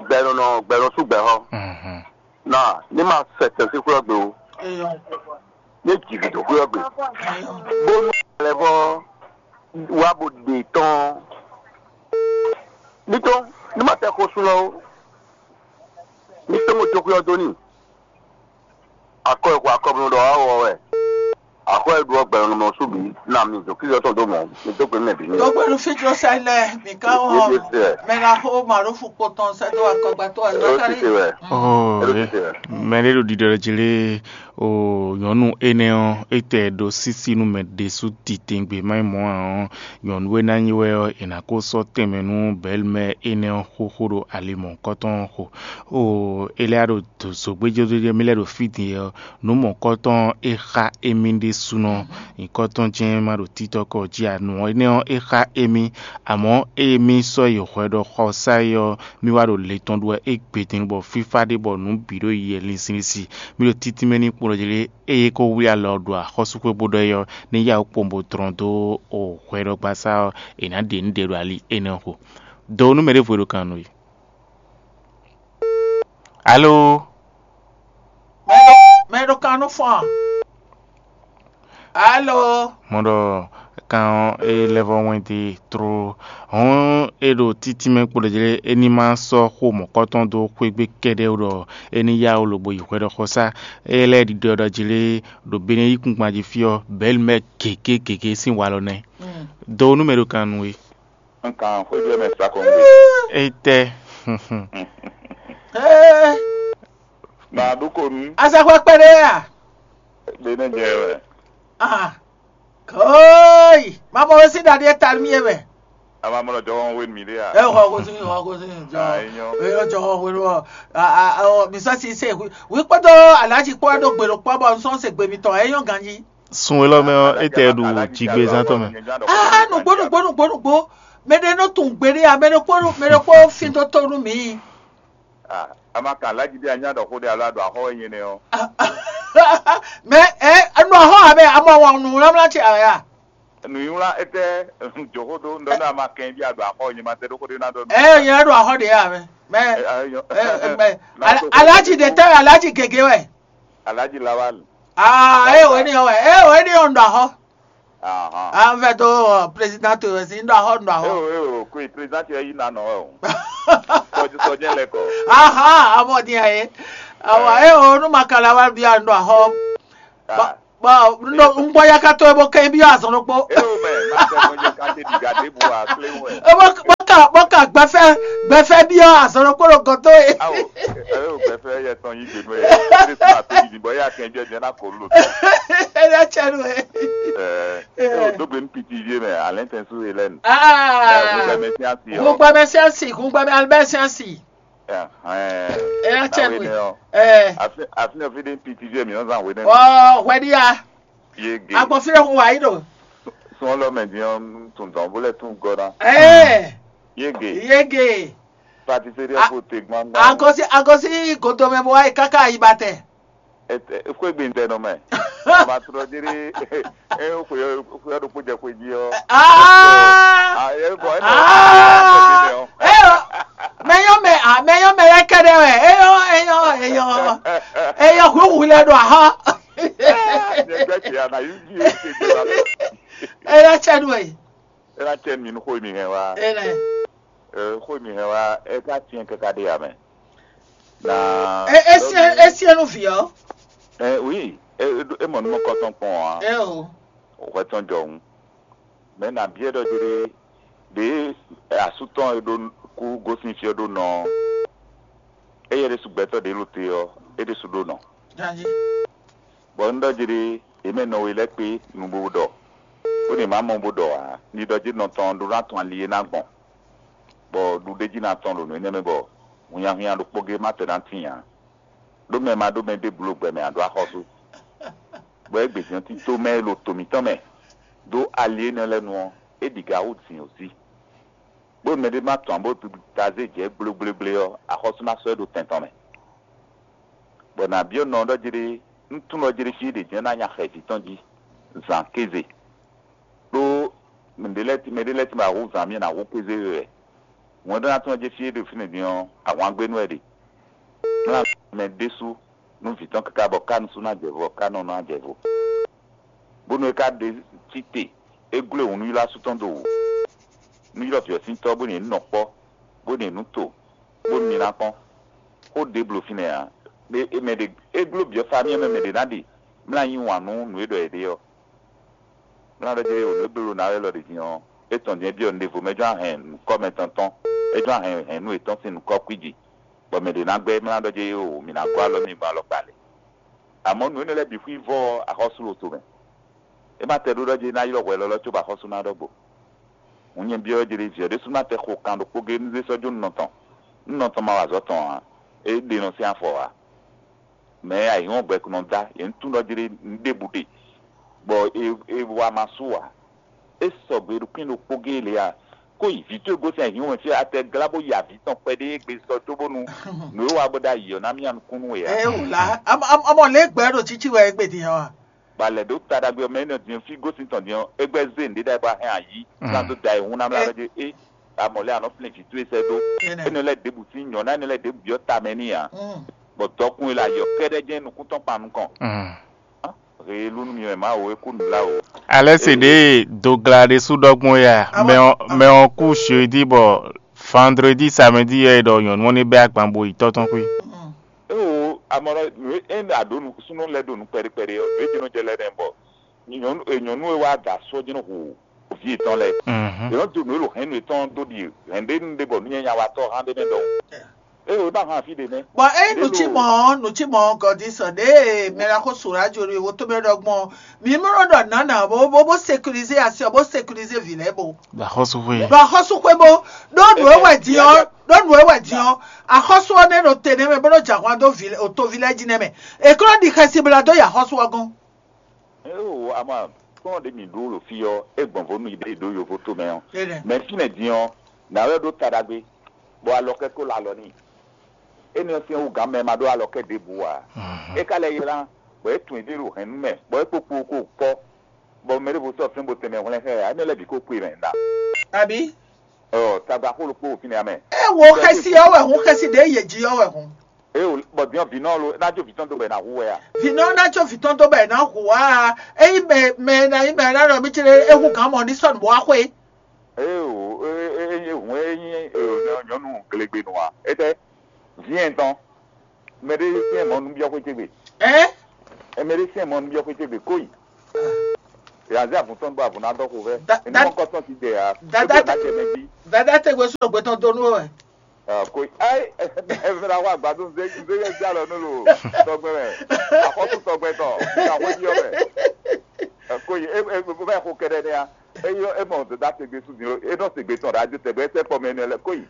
Gbɛ nɔ nɔ gbɛ nɔ sú gbɛ xɔ. Na ní ma sɛ tɛn sín xwé ɔ́ gbe ó. Ní jǐ gǔdo xwé ɔ́ gbe. Bónú lɛ́ vɔ wá bó ɖe tɔn. Ní tɔn ní ma tɛ xó sú lɔ ó. Ní tɔn mo jó xwé ɔ́ dó n'i. Akɔ e xo akɔbunu ɖɔ wá wɔ wɛ. Axɔ́ e ɖu ɔ́ gbɛmɛ nɔ sú bǐ. Na mi dǒ kíyɔ tɔn dó mɔ. Mi dó gbe nú mɛ bǐ ní. Dogbe nú fí Josɛ́n lɛ́ɛ, mǐ ká wɔn mɛ ná xó Maɖófu kpo tɔn sɛ́ dó akɔgbatɔ́ ɛ Ó Zakalíi. Tite wɛ. Oo, É ɖo tite wɛ. Mɛ ɖé ɖo ɖiɖɔ ɖɔ jí lé, oo, nyɔ̌nu énɛ́ ɔ́, é tɛ ɖo sísí nú mɛ ɖésú titewungbe má nyí mɔ̌ ǎ ɔ́, nyɔ̌nu e ná nyí wɛ ɔ́, è nǎ kó sɔ́ tɛnmɛ nú Bɛɛlmɛ énɛ́ ɔ́ xóxó ɖo ali mɔ̌hunkɔtɔn ɔ́ xo. Oo, é lɛ́ ɖo zǒgbéjéjé mì lɛ́ ɖo fí din ɔ́, nǔ mɔ̌kɔtɔn e xá émí ɖésúnɔ nyǐkɔ tɔn jɛ́n ma ɖo títɔ́ kɔ jí ǎ. Nǔ énɛ́ ɔ́, é xá émí, amɔ̌ ée mì sɔ́ yi hwɛ ɖɔ xɔsá é ɔ́, mì wá ɖo le tɔn ɖu wɛ égbé din bɔ fífá ɖé bɔ nǔ bǐ ɖo yi wɛ linsinlinsin. Mì ɖo títínmɛ n'i kplɔ́n jlé, ée é ko wlí alɔ ɖo axɔ́súxwé bó ɖɔ é ɔ́, ní yá wǔ kpowun bó dlɔ́n dó hwɛɖɔgbasá ɔ́, è nǎ ɖe nǔ ɖe ɖo ali énɛ́ xo. Dǒ nú mɛ ɖěvo e ɖo kan nú we. Alo? Mɛ ɖo kan nú fɔn. Alo? Mɔ ɖɔ kan ɔ́, é lɛ́ vɔ́ wɛn dó e tló. Hɔ̌n é ɖo títínmɛ kpo ɖɔ jlé é ní ma sɔ́ xó mɔ̌kɔtɔn dó xwé gbe kɛ́ɖɛ́ ó ɖɔ é ní yá wǔ lobo yi hwɛɖɔxɔsá. É lɛ́ ɖiɖɔ ɖɔ jlé ɖo Benɛ́ yíkúngban jí fí ɔ́, Bɛ̌lu mɛ gěgé gěgé sín walɔ nɛ́. Dǒ nú mɛ ɖo kan nú we. Un kan xwéjɔ mɛ sakɔngbe. Étɛ́. Ee, Màdúkonu. Azɛxwɛ kpɛɖé a? Ɖe nɛ jɛ wɛ. Ah, koi, mamɔ we sín ɖaɖí e ta nú mì é mɛ. Ama mɔ lɔ jɔwɔn we mi ɖe a? Ɛ xɔ ko sín xɔ ko sín jɔ. Ah, enyo. Eyɔ jɔwɔn we lɔ. A a ɔ mi sɔ si se wi wi kpɔtɔ alaji kpɔ ɖo gbe ɖo kpɔ bɔ n sɔn se gbe mitɔn eyɔ ganji. Sun elɔ mɛ ɔ́, étɛ́ ɖu jigbezán tɔn mɛ. Ah, nugbo nugbo nugbo nugbo. Mɛ ɖe nɔ tun gbe ɖe a, mɛ ɖe kpɔ mɛ ɖe kpɔ fin dó tó nú mi. Ah, ama kan alaji ɖe anya ɖɔ xó ɖe alo aɖo axɔ wɛ nyɛ nɛ ɔ́. Mɛ ɛ enu axɔ abɛ amɔ wɔn nu lamla ce aya. Nǔnywlá étɛ́ joxó dó ŋɖɔ nú a ma kɛn bí a ɖo axɔ nyɛ ma tɛ ɖó xó ɖé ná ɖɔ nú. Ɛ nyɛ ɖo axɔ ɖe ya mɛ. Mɛ ɛ, ɛ, nyɔ- ɛ, ɛ, mɛ. Ala- Alaji ɖe tɛ Alaji gege wɛ. Alaji Lawal. Ah, ɛ o ni wɛ ɛ o ni ɔn ɖo axɔ. Ahan. An vɛ do président to wɛ si ŋɖo axɔ ŋɖo axɔ. Eo eo kui président yɛ yi na nɔ wɛ o. Sɔjɛ sɔjɛ lɛ kɔ. Aha, amɔ dia ye. Awa ɛ o nu ma kala wa bia ŋɖo axɔ. Ah. Bɔ ŋɖo ŋgbɔ ya ka to ebo kɛ bi azɔn ɖokpo. Eo mɛ ma tɛ mɔ yɛ ka te diga de bu a kle wɛ. Ebo bɔ ka bɔ ka gbɛfɛ gbɛfɛ bi azɔn ɖokpo ɖo gɔto ye. Awo eo gbɛfɛ yɛ tɔn yi gbenu ye. Ere tún ma to yi bɔ ya kɛn jɛ jɛ na ko lo. Ele atsɛ nu ye. Ɛ eo dogbe nu piti vie mɛ alɛ tɛ su Hélène. Ah. Ɛ ŋgbɛ mɛ si asi ɔ. Ŋgbɛ mɛ si asi ŋgbɛ mɛ alibɛ si asi. Ɛhɛn. Ɛ atsɛ nu ye. Ɛ. Afi afi ne fi de piti vie mi ɔn zan hwe ne. Ɔ hwɛ di ya. Yege. Agbɔnfin ɖe hun wa yi ɖo. Sɔn lɔ mɛ din ɔn tun dɔn bó lɛ tun gɔ na. Ɛɛ. Yege. Yege. Pâtisserie ko te gbangban. Agɔsi agɔsi godomɛ bɔ wa yi kaka yi ba tɛ. Ete xwe gbe ŋdɛ nɔ mɛ. Ma trɔ diri e xwe xwe ɖo kpo jɛ xwe ji ɔ. Aa. Ah, e bɔ e nɔ. Aa. Eyɔ. Mɛ yɔ mɛ a mɛ yɔ mɛ lɛ kɛ ɖe wɛ. Eyɔ eyɔ eyɔ. Eyɔ huhu lɛ ɖo ahɔ. Nyɛ gbɛ tsi ana yi ji e ke do la. Eyɔ tsɛ nu e. E na tse mi nu xo mi hɛn wa. Ene. E xo mi hɛn wa e ka tiɛn kaka ɖe ya mɛ. Na. E e siɛn e siɛn nu vi ɔ. Ɛ oui, e e mɔ numɔ kɔtɔn kpɔn wa. E o. Hwɛ tɔn jɔ ŋu. Mɛ na biɛ ɖɔ jere ɖe asu tɔn e ɖo kú gosin fia ɖo nɔ. Eye ɖe su gbɛtɔ ɖe lo te ɔ, e ɖe su ɖo nɔ. Janji. Bɔ un ɖɔ jere yě mɛ nɔ we lɛ́ɛ kpé nu bó ɖɔ, bó ɖi má mɔ bó ɖɔ ǎ, ní ɖɔ jí nɔ tɔn ɖó ná tɔn ali e ná gbɔn, bɔ ɖuɖéjí ná tɔn ɖo nǔ énɛ́ mɛ bɔ hunnyahunnya ɖokpó gé má tɛ ná tíin ǎ. Ɖó mɛ ma ɖó mɛ ɖěbǔ ɖo gbɛ mɛ ǎ ɖó axɔ́sú. Bɔ é gbějɛ́n tító mɛ e ɖo to mǐtɔn mɛ dó ali énɛ́ lɛ́ɛ nu ɔ́, é ɖi ga hú zǐn ɔ́ sí. Bó mɛɖé má tɔn bó ta zé jɛ gblégblégblé ɔ́, axɔ́sú ná sɔ́ ɛ ɖo tɛn tɔn mɛ. Bɔ nǎ byɔ́ nɔ ɔ́ ɖɔ jlé, un tunwun ɖɔ jlé fí ɖě jɛ́n ná nya xɛ vǐ tɔn jí, zǎn kéze. Ɖó mɛɖé lɛ́ɛ mɛɖé lɛ́ɛ tɛ́nmɛ ná hú zǎn mì ná hú kéze we wɛ. Wɛn ɖó ná tunwun jí fí e ɖo fínɛ́ din ɔ́, ahwangbénu wɛ ɖe. Mlá mɛ ɖésú nú vǐ tɔn káká bɔ ká nusú ná jɛ vo, ká nɔ ná jɛ vo. Bónú é ka ɖe cí te, é gló e wǔ nú ylɔ́ asú tɔn dó wǔ. Nú ylɔ́ vǐ ɔ́ sín tɔ́ bó nyi nǔ nɔ kpɔ́, bó nyi nǔ to, bónú mi ná kpɔ́n. Xó ɖě bló fínɛ́ ǎ. Ɖé mɛ ɖě é gló byɔ́ famíɛ mɛ mɛ ɖě ná ɖi mlá yí wǎn nú nǔ e ɖɔ è ɖe ɔ́. Mlá ɖɔ jɛ wǒ nú é bló ná wɛ lɔ ɖě din ɔ́, é tɔn din é byɔ́ nǔɖévo mɛ jɔ́n ahɛn nǔkɔ́ mɛ tɔn tɔn, é jɔ́n ahɛn hɛ̌nnu yětɔn sín nǔkɔ́ kwíji, bɔ mɛ ɖě ná gbɛ́ mlá ɖɔ jɛ wǒ mi ná gɔ́ alɔ mì gbɔn alɔkpa lě. Amɔ̌ nǔ énɛ́ lɛ́ɛ bǐ xwí vɔ́ ɔ́, axɔ́sú lo tomɛ. É ma tɛ ɖó ɖɔ jí é ná ylɔ́ hwɛ élɔ́ cóbɔ axɔ́sú ná ɖɔgbo. Hǔn nyɛ byɔ́ jlé vǐ ɔ́ ɖésú ná tɛ xo kan ɖokpó géé nú zé sɔ́ jó nú nɔ tɔn, nú nɔ tɔn ma wa azɔ̌ tɔn ǎ, é ɖe nɔ sín afɔ ǎ. Mɛ e ayǐhɔ́ngbe nɔ dá, yě ń tunwun ɖɔ jlé un ɖěbǔ ɖe, bɔ è è wa ma sú ǎ. É sɔgbe ɖo kpín ɖokpó géé lě ǎ, kó yi vǐ towe gosín ayǐhɔ́ngbe fí atɛ glá bó yi avǐ tɔn kpɛɖé égbé sɔ́ cóbónú nǔ e wa bó ɖ'ayǐ ɔ́ ná myá nukún nú we ǎ. Ɛ wò lá, amɔ lě gbɛ ɖo títí wɛ égbé din ɔ́ a? Ba lɛ ɖó ta ɖagbe ɔ́ mɛ énɛ́ din fí gosín tɔn din ɔ́, é gbɛ́ zé nǔɖé ɖagbe ahɛn ayǐ ná dó da ayǐhún ná mlá ɖɔ jí é amɔ lɛ́ɛ anɔ flɛ́n vǐ towe sɛ́ dó. Énɛ́ lɛ́ɛ ɖěbǔ sín nyɔ̌ná énɛ́ lɛ́ɛ ɖěbǔ byɔ́ tamɛ n'i ǎ, bɔ dɔkun e le ayǐ ɔ́ kɛ́ɖɛ́ jɛ́n nukúntɔ́ kpan nukɔn. Hee lú nú mi wɛ Mawu é kú nǔbláwǔ. Alɛ́ se ɖě dogla ɖésú ɖɔ gbɔn ya mɛ ɔ́ kú jeudi bɔ vendredi samedi yɛ é ɖɔ nyɔ̌nu ɔ́ ní bɛ́ agban bo yi tɔ́ tɔn xwí. Éwo amɔɖɔ nǔ e é ɖa ɖó súnnu lɛ́ɛ ɖo nú kpɛɖé kpɛɖé ɔ́, nǔ e jɛ́n nɔ jɛ lɛ́ɛ nɛ́ bɔ nyɔ̌nu e nyɔ̌nu e wá da asú ɔ́ jɛ́n nɔ hu vǐ yětɔn lɛ́ɛ. Yě nɔ dó nǔ e ɖo hɛ̌nnu yětɔn dó ɖi hɛ̌nɖénu ɖé bɔ nǔnywɛ́nya watɔ́ hán ɖé mɛ ɖɔhun. Ée wǒ ɖo ahwan fí ɖě nɛ́. Bɔ ényí nǔ cí mɔ̌ ɔ́, nǔ cí mɔ̌ ɔ́, Gɔdisɔ ɖěe mɛ ɖaxó Surajo ɖo wotó mɛ ɖɔ gbɔn ɔ́, mǐ mlɔ́ ɖɔ nǎ nǎ bó bó bó sécurisé asi ɔ́, bó sécurisé vǐ lɛ́ɛ bó. Ɖo axɔ́súxwé. Ɖo axɔ́súxwé bó ɖó nǔ e wɛ din ɔ́, ɖó nǔ e wɛ din ɔ́, axɔ́sú ɔ́ nɛ́ ɖo te nɛ́ mɛ bó nɔ́ jɛ ahwan dó vǐ lɛ́ɛ- otoví lɛ́ɛ jí nɛ́ mɛ. È ko nɔ ɖi xɛsi bó ná dó yi axɔ́sú ɔ́ gɔ́n. Éwo ama kplɔ́n ɖě mǐ ɖó ɖo fí ɔ́, é gbɔn vo nú yi ɖě ɖó yovo tomɛ ɔ́. Mɛ fínɛ́ din ɔ́, nǎ wɛ ɖó ta ɖagbe, bɔ alɔ kɛ́ kó lɔ alɔ n'i. Énɛ́ ɔ́ sín wú gǎn mɛ ma ɖó alɔ kɛ́ ɖěbǔ ǎ. É ka lɛ́ ylá, bɔ é tunwun yě ɖo hɛ̌nnu mɛ, bɔ é kpó kpo kó kpɔ́. Bɔ mɛ ɖěvo sɔ́ fínbó tɛnmɛ hwlɛ́n xá ɛ, énɛ́ lɛ́ɛ bǐ ko kpo i mɛ ɖa. Abi? Ɔ, tagba xó ɖokpó fínɛ́ ame. E wo xɛsi ɔ́ wɛ hun, xɛsi ɖě yě jí ɔ́ wɛ hun. E o, bɔ diɔ vǐ nɔ lo, ná jó vǐ tɔn dó bɔ è nǎ hu wɛ a? Vǐ nɔ ná jó vǐ tɔn dó bɔ è nǎ hu wá a? Ényí mɛ mɛ ná nyí mɛ ná ɖɔ mí céɖé é hu gǎn mɔ ní sɔ́ nǔ bó wá xwé. E o, e e e hun e nyí e o nyɔnu glegbe nɔ a? Etɛ, vǐ ɛn tɔn, mɛ ɖé syɛ́n mɔ nú byɔ́ xwé ce gbe. Ɛ? Mɛ ɖé syɛ́n mɔ nú byɔ́ xwé ce gbe kó yi. Yàzí àbùtɔn bɔ àbùnà dɔ xo vɛ. Da- Èmi da- mɔ kɔtɔn ti dɛ ya. Dada Ebe tɛ- na jẹ mɛ bí. Dada tɛgbɛ sɔrɔ gbɛtɔ donu wɛ. Ko ayi, ɛfɛ la wa gbadun ze ze yɛ ja lɔ nu lo tɔgbɛ mɛ. Akɔsu tɔgbɛ tɔ. Ka xɔ yi ɔbɛ. Ko yi e e bɛ xo kɛɖɛ ne ya. Eyi e mɔ dada tɛgbɛ su din lo. E nɔ tɛgbɛ tɔn ɖe adi tɛgbɛ sɛ kpɔ mɛ ne lɛ ko yi.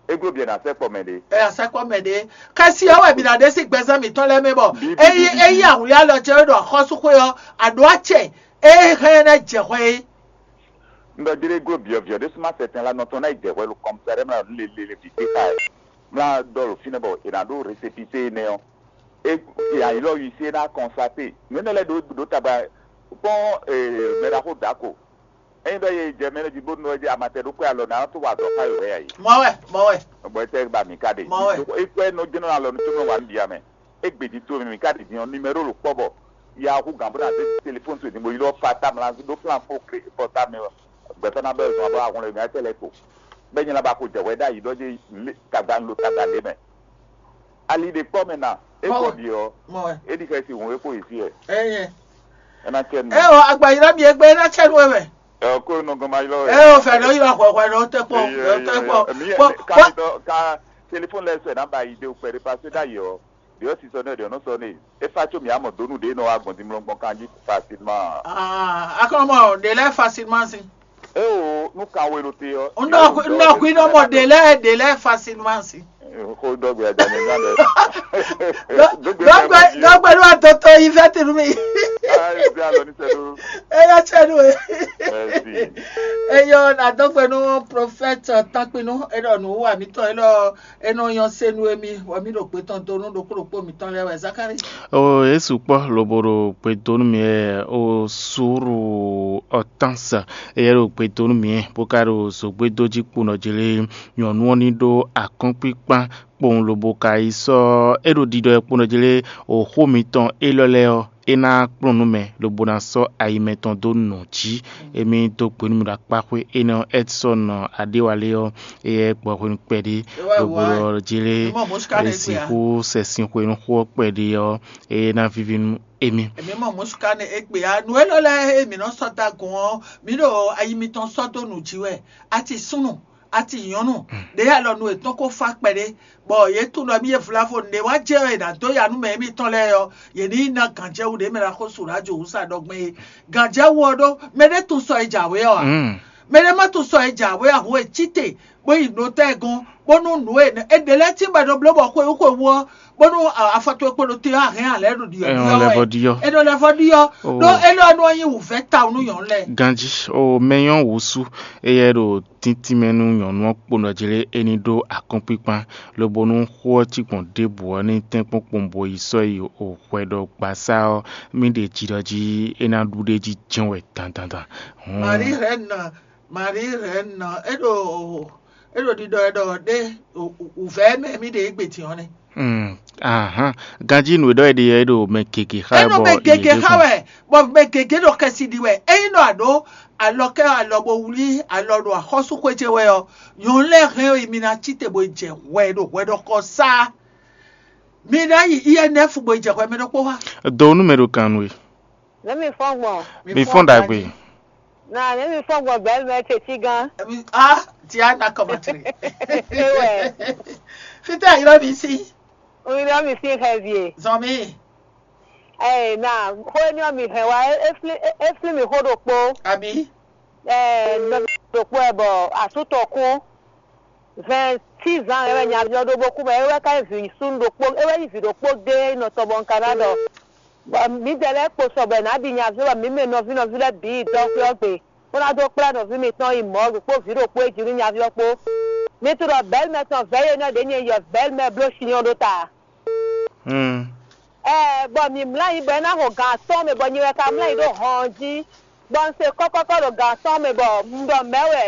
Eglo biɛ na sɛ kpɔ mɛ ɖe. Ɛ asɛkpɔ mɛ ɖe. Kɛsi ɔ́ wɛ mi na ɖe sí gbɛzán mǐtɔn lɛ́ɛ mɛ bɔ eyi eyi awuli alɔ jɛ ɖo axɔ́súxwé ɔ́, aɖó acɛ e hɛn ná jɛ hwɛ é. Un ɖɔ jlé glo byɔ̌byɔ́ ɖé súnmọ́ sɛtɛn la nɔ tɔn ná yi jɛ hwɛ ɖo kɔmsɛrɛ mla nú lelele vǐ kpé xá ɛ. Mla ɖɔ ɖo fínɛ́ bɔ è nǎ ɖó resepise énɛ́ ɔ́. É ayǐlɔ yi sí é ná kɔnsaté. Nǔ énɛ́ lɛ́ɛ ɖó ɖó tagba kpɔ́n mɛɖaxó dǎko. Ényí ɖɔ yě jɛ mɛ jí bónú ɔ́ jí amatɛ ɖokpó alɔ ná tó wa azɔ̌ xá yǒ hɛ ǎ é. Mɔ wɛ, mɔ wɛ. Bɔ é tɛ ba mǐ ka ɖe. Mɔ wɛ. Ikú ɛ nɔ jɛnɔ alɔ nú tó nɔ wa nú bia mɛ. É gbè jí tó mì ká ɖi din ɔ́, numéro lɔ̌ kpɔ́ bɔ ya hú gǎn bó ná zé téléfóni towe din bó yi lɔ fa tamla ɖó plan fó klé pɔta mɛ gbɛtɔ́ ná bɛ zɔn abɔ ahun lɛ nyɛ tɛ lɛ ko. Bɛ nyɛ la ba ko jɛ wɛ ɖ'ayǐ ɖɔ jɛ lé tagba lo tagba lé mɛ. Ali ɖe kpɔ́ mɛ na é Mɔ kɔ wɛ. Ɖi ɔ́, Mɔ wɛ. É ɖi xɛsi hǔn é kpo yi fí ɛ. Ɛyɛ. É ná cɛ nu. Ɛ o, agba yi ɖɔ mi egbe é ná cɛ nu wɛ mɛ. Ɛ ko nɔ gɔn ma ylɔ wɛ. Ɛ o, fɛ ɖɔ yi lɔ hwɛhwɛ ɖɔ tɛ kpɔ, Eyɛ, tɛ eyɛ, kpɔ. Eyɛ. Mi Kpɔ kpɔ. Ka mi dɔ ka téléphone lɛ sɛ ná ba yi de o kpɛ de parce que ɖ'ayǐ ɔ́, ɖě ɔ́ si sɔ nɛ ɖě ɔ́ nɔ sɔ nɛ. É fa có mǐ á mɔ dǒ nǔ ɖě nɔ wá gbɔn dimlɔ́gbɔn kanjí facilement. Ah, akɔmɔ ɖe lɛ facilement si. É o, nú kan we ɖo te ɔ́. Nnɔ nnɔ kui nɔ mɔ ɖe lɛ ɖe lɛ facilement si. Xó dɔgbe ajá mi gán lɛ. Dɔgbe dɔgbe ló wà tó tó yí fẹ́ tìlú mi. Ayé bí alɔ ní sẹ́nu. Eyɔ tsɛ nu e. Merci. Eyɔ na dɔgbe nu prophète takpinu enɔ nu wa mi tɔ enɔ enɔ yɔn senu emi wɔ mi ɖo gbetɔn donu ɖokpo ɖokpo mitɔn lɛ wɛ Zakari. O Yesu kpɔ lobo ɖo gbedonu mi ɛ o suru ɔtansa eyɛ ɖo gbedonu mi ɛ bó ka ɖo zogbedo jí kponɔ jele nyɔnu ɔ́ ní ɖó akɔ́nkpíkpán kpowun lobo ka yi sɔ́ é ɖo ɖiɖɔ ɛ kponɔ jele o xó mitɔn élɔ́ lɛ́ɛ ɔ́ é ná kplɔ́n nú mɛ lobo ná sɔ́ ayi mɛtɔn dó nɔ jí. Émí dó gbe nú mì ɖo akpáxwé énɛ́ ɔ́ Edson Adéwalé ɔ́ éyɛ́ gbɔ hwenu kpɛɖé lobo ɔ́ jélé é sixú sɛ sin hwenu xó ɔ́ kpɛɖé ɔ́ é ná víví nú émí. Èmi mɔ mɔ̌ suká nɛ égbé á nu élɔ́ lɛ́ɛ e mǐ nɔ sɔ́ dó agun ɔ́, mǐ ɖo ayi mitɔn sɔ́ dó nǔ jí wɛ. A ci súnnu, a ci nyɔ̌nu, ɖě alɔ nu yětɔn ko fá kpɛɖé, bɔ yě tunwun ɖɔ mì e vlavo nǔɖé wá jɛ wɛ è nǎ dó ya nú mɛ émítɔn lɛ́ɛ ɔ́, yě ní yi ná gǎnjɛwú ɖě mɛ ná xó su ɖo ajo wǔ sa ɖɔgbɛ́n é. Gǎnjɛwú ɔ́ ɖó, mɛɖé tunwun sɔ e jǎwe ɔ́ ǎ. Mɛɖé má tunwun sɔ e jǎwe ǎ, hǔn e cí te, bó yi nǔ tɛ́ gɔ́n, bónú nǔ e è ɖe lɛ́ɛ tíngbɛ ɖo bló bɔ xwewú xwewú ɔ́, bónú afɔ towe kpo ɖo te ɔ́, a hɛn ǎ lɛ́ɛ ɖo ɖiɖɔ Ɛ ɖiɖɔ nɔ lɛ́ wɛ. Vɔ ɖi ɔ́. É nɔ lɛ́ vɔ ɖi ɔ́, ɖó é lɔ nɔ nyí wǔvɛ́ tawun nú nyɔ̌nu lɛ́ɛ. Ganjí o mɛ nyɔ́ wǔ sú, éyɛ́ ɖo tíntín mɛ nú nyɔ̌nu ɔ́ kponɔ jlé é ní ɖó akɔ́nkpíkpán, lobo nú xó ɔ́ cí gbɔn ɖěbǔ ɔ́ ní tɛ́nkpɔ́n kpowun bo yi sɔ́ yi o hwɛ ɖɔ gbasá ɔ́, mì ɖe jiɖɔ jí é ná ɖu ɖ'é jí jɛ́n wɛ dandandan. Hɔn. Marie Reine, Marie Reine, é ɖo é ɖo ɖiɖɔ ɛ ɖɔ ɖé wǔvɛ́ mɛ mì ɖe égbé din ɔ́ nɛ́. Mm, ahan. Ganjí nǔ e ɖɔ è ɖe ɔ́, é ɖo mɛ gěgé xa wɛ. É ɖo bɔ mɛ gěgé xa wɛ, bɔ mɛ gěgé ɖo xɛsi ɖi wɛ. Ényí nɔ àɖó alɔ kɛ alɔ bo wlí alɔ ɖo axɔ́súxwé ce wɛ ɔ́, nyɔ̌nu lɛ́ɛ hɛn ɔ́, mi ná cí te bo yi jɛ hwɛ ɖo hwɛɖɔxɔ sá. Mi ná yi I N F bo yi jɛ hwɛ mɛ ɖokpó wá. Do nú mɛ ɖo kan nú we. Nɛ̌ mi fɔ́n gbɔn? Mi fɔ́n ɖagbe. Na nɛ̌ mi fɔ́n gbɔn bɛ̌ mɛ ce cí gán? Emi ah, Diana kɔmatri. Ewɛ. Fitɛ ayirɔ mi si. Oyinɔ mi si xɛ vie. Zɔn mi. Ɛ na xó éní ɔ́ mi hɛn wá é flí é flí mi xó ɖokpó. Abi. Ɛ nɔví ɖokpó ɛ bɔ asú tɔn kú. Vingt-six ans é wɛ nyaví ɔ́ ɖó bó kú bɔ é wɛ ka nyí vǐ súnnu ɖokpó, é wɛ nyí vǐ ɖokpó géé nɔ tɔn bɔ un ka ná ɖɔ. Bɔ mǐdɛɛ lɛ́ɛ kpo sɔ bɔ è nǎ ɖi nyaví ɔ́ bɔ mǐ mɛ nɔví nɔví lɛ́ɛ bǐ yi dɔxwé ɔ́ gbe, bó ná dó kplá nɔví mitɔn yi mɔ̌ ɖokpó vǐ ɖokpó e jí nú nyaví ɔ́ kpó. Mi tunwun ɖɔ bɛ̌lmɛ tɔn vɛ̌ énɛ́ ɖě nyɛ yɔ bɛ̌lmɛ bló sin ɔ́ ɖó ta. Ɛɛ, bɔ mǐ mlá nyi bɔ é ná xo gan atɔ́ɔ́n mɛ bɔ nyi wɛ ka mlá nyi ɖó hɔn ɔ́ jí. Bɔ un se kɔ́kɔ́kɔ́ ɖo gǎn tɔn mɛ bɔ un ɖɔ mɛ̌ wɛ,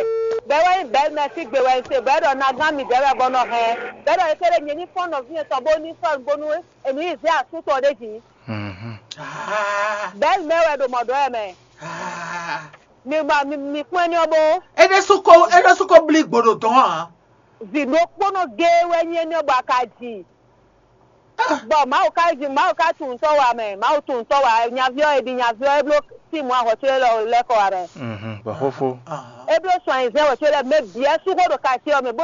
bɛ̌ wɛ nyí bɛ̌ mɛ sígbe wɛ un se bɔ é ɖɔ nagán midɛɛ wɛ bɔ nɔ hɛn, bɛ̌ ɖɔ ékɛ́ɖɛ́ nyɛ ní fɔ́n nɔví yɛn tɔn bó ní sɔ́ bónú è nǔ yi zé asú tɔn ɖé jǐ. Bɛ̌ mɛ wɛ ɖo mɔ̌ ɖɔ wɛ mɛ. Mi ba mi mi kpɔ́n ní ɔ́ bó. É ɖésú ko é ɖésú ko blí gbǒɖo dɔn ǎ. Vǐ ɖokpónɔ géé wɛ nyí énɛ́ bɔ a ka ji. Bɔ Mawu ka ji Mawu ka tunwun tɔ́ wa mɛ, Mawu tunwun tɔ́ wa, nyaví ɔ́ e ɖi nyaví ɔ́ é bló tímù ahɔ̌ ce lɛ́ɛ kɔ wa mɛ. Bɔ xófó. É bló sɔn ayizɛ́n wɛ ce lɛ́ɛ mɛ bǐ ɛ́ sú xó ɖo kati ɔ́ mɛ bó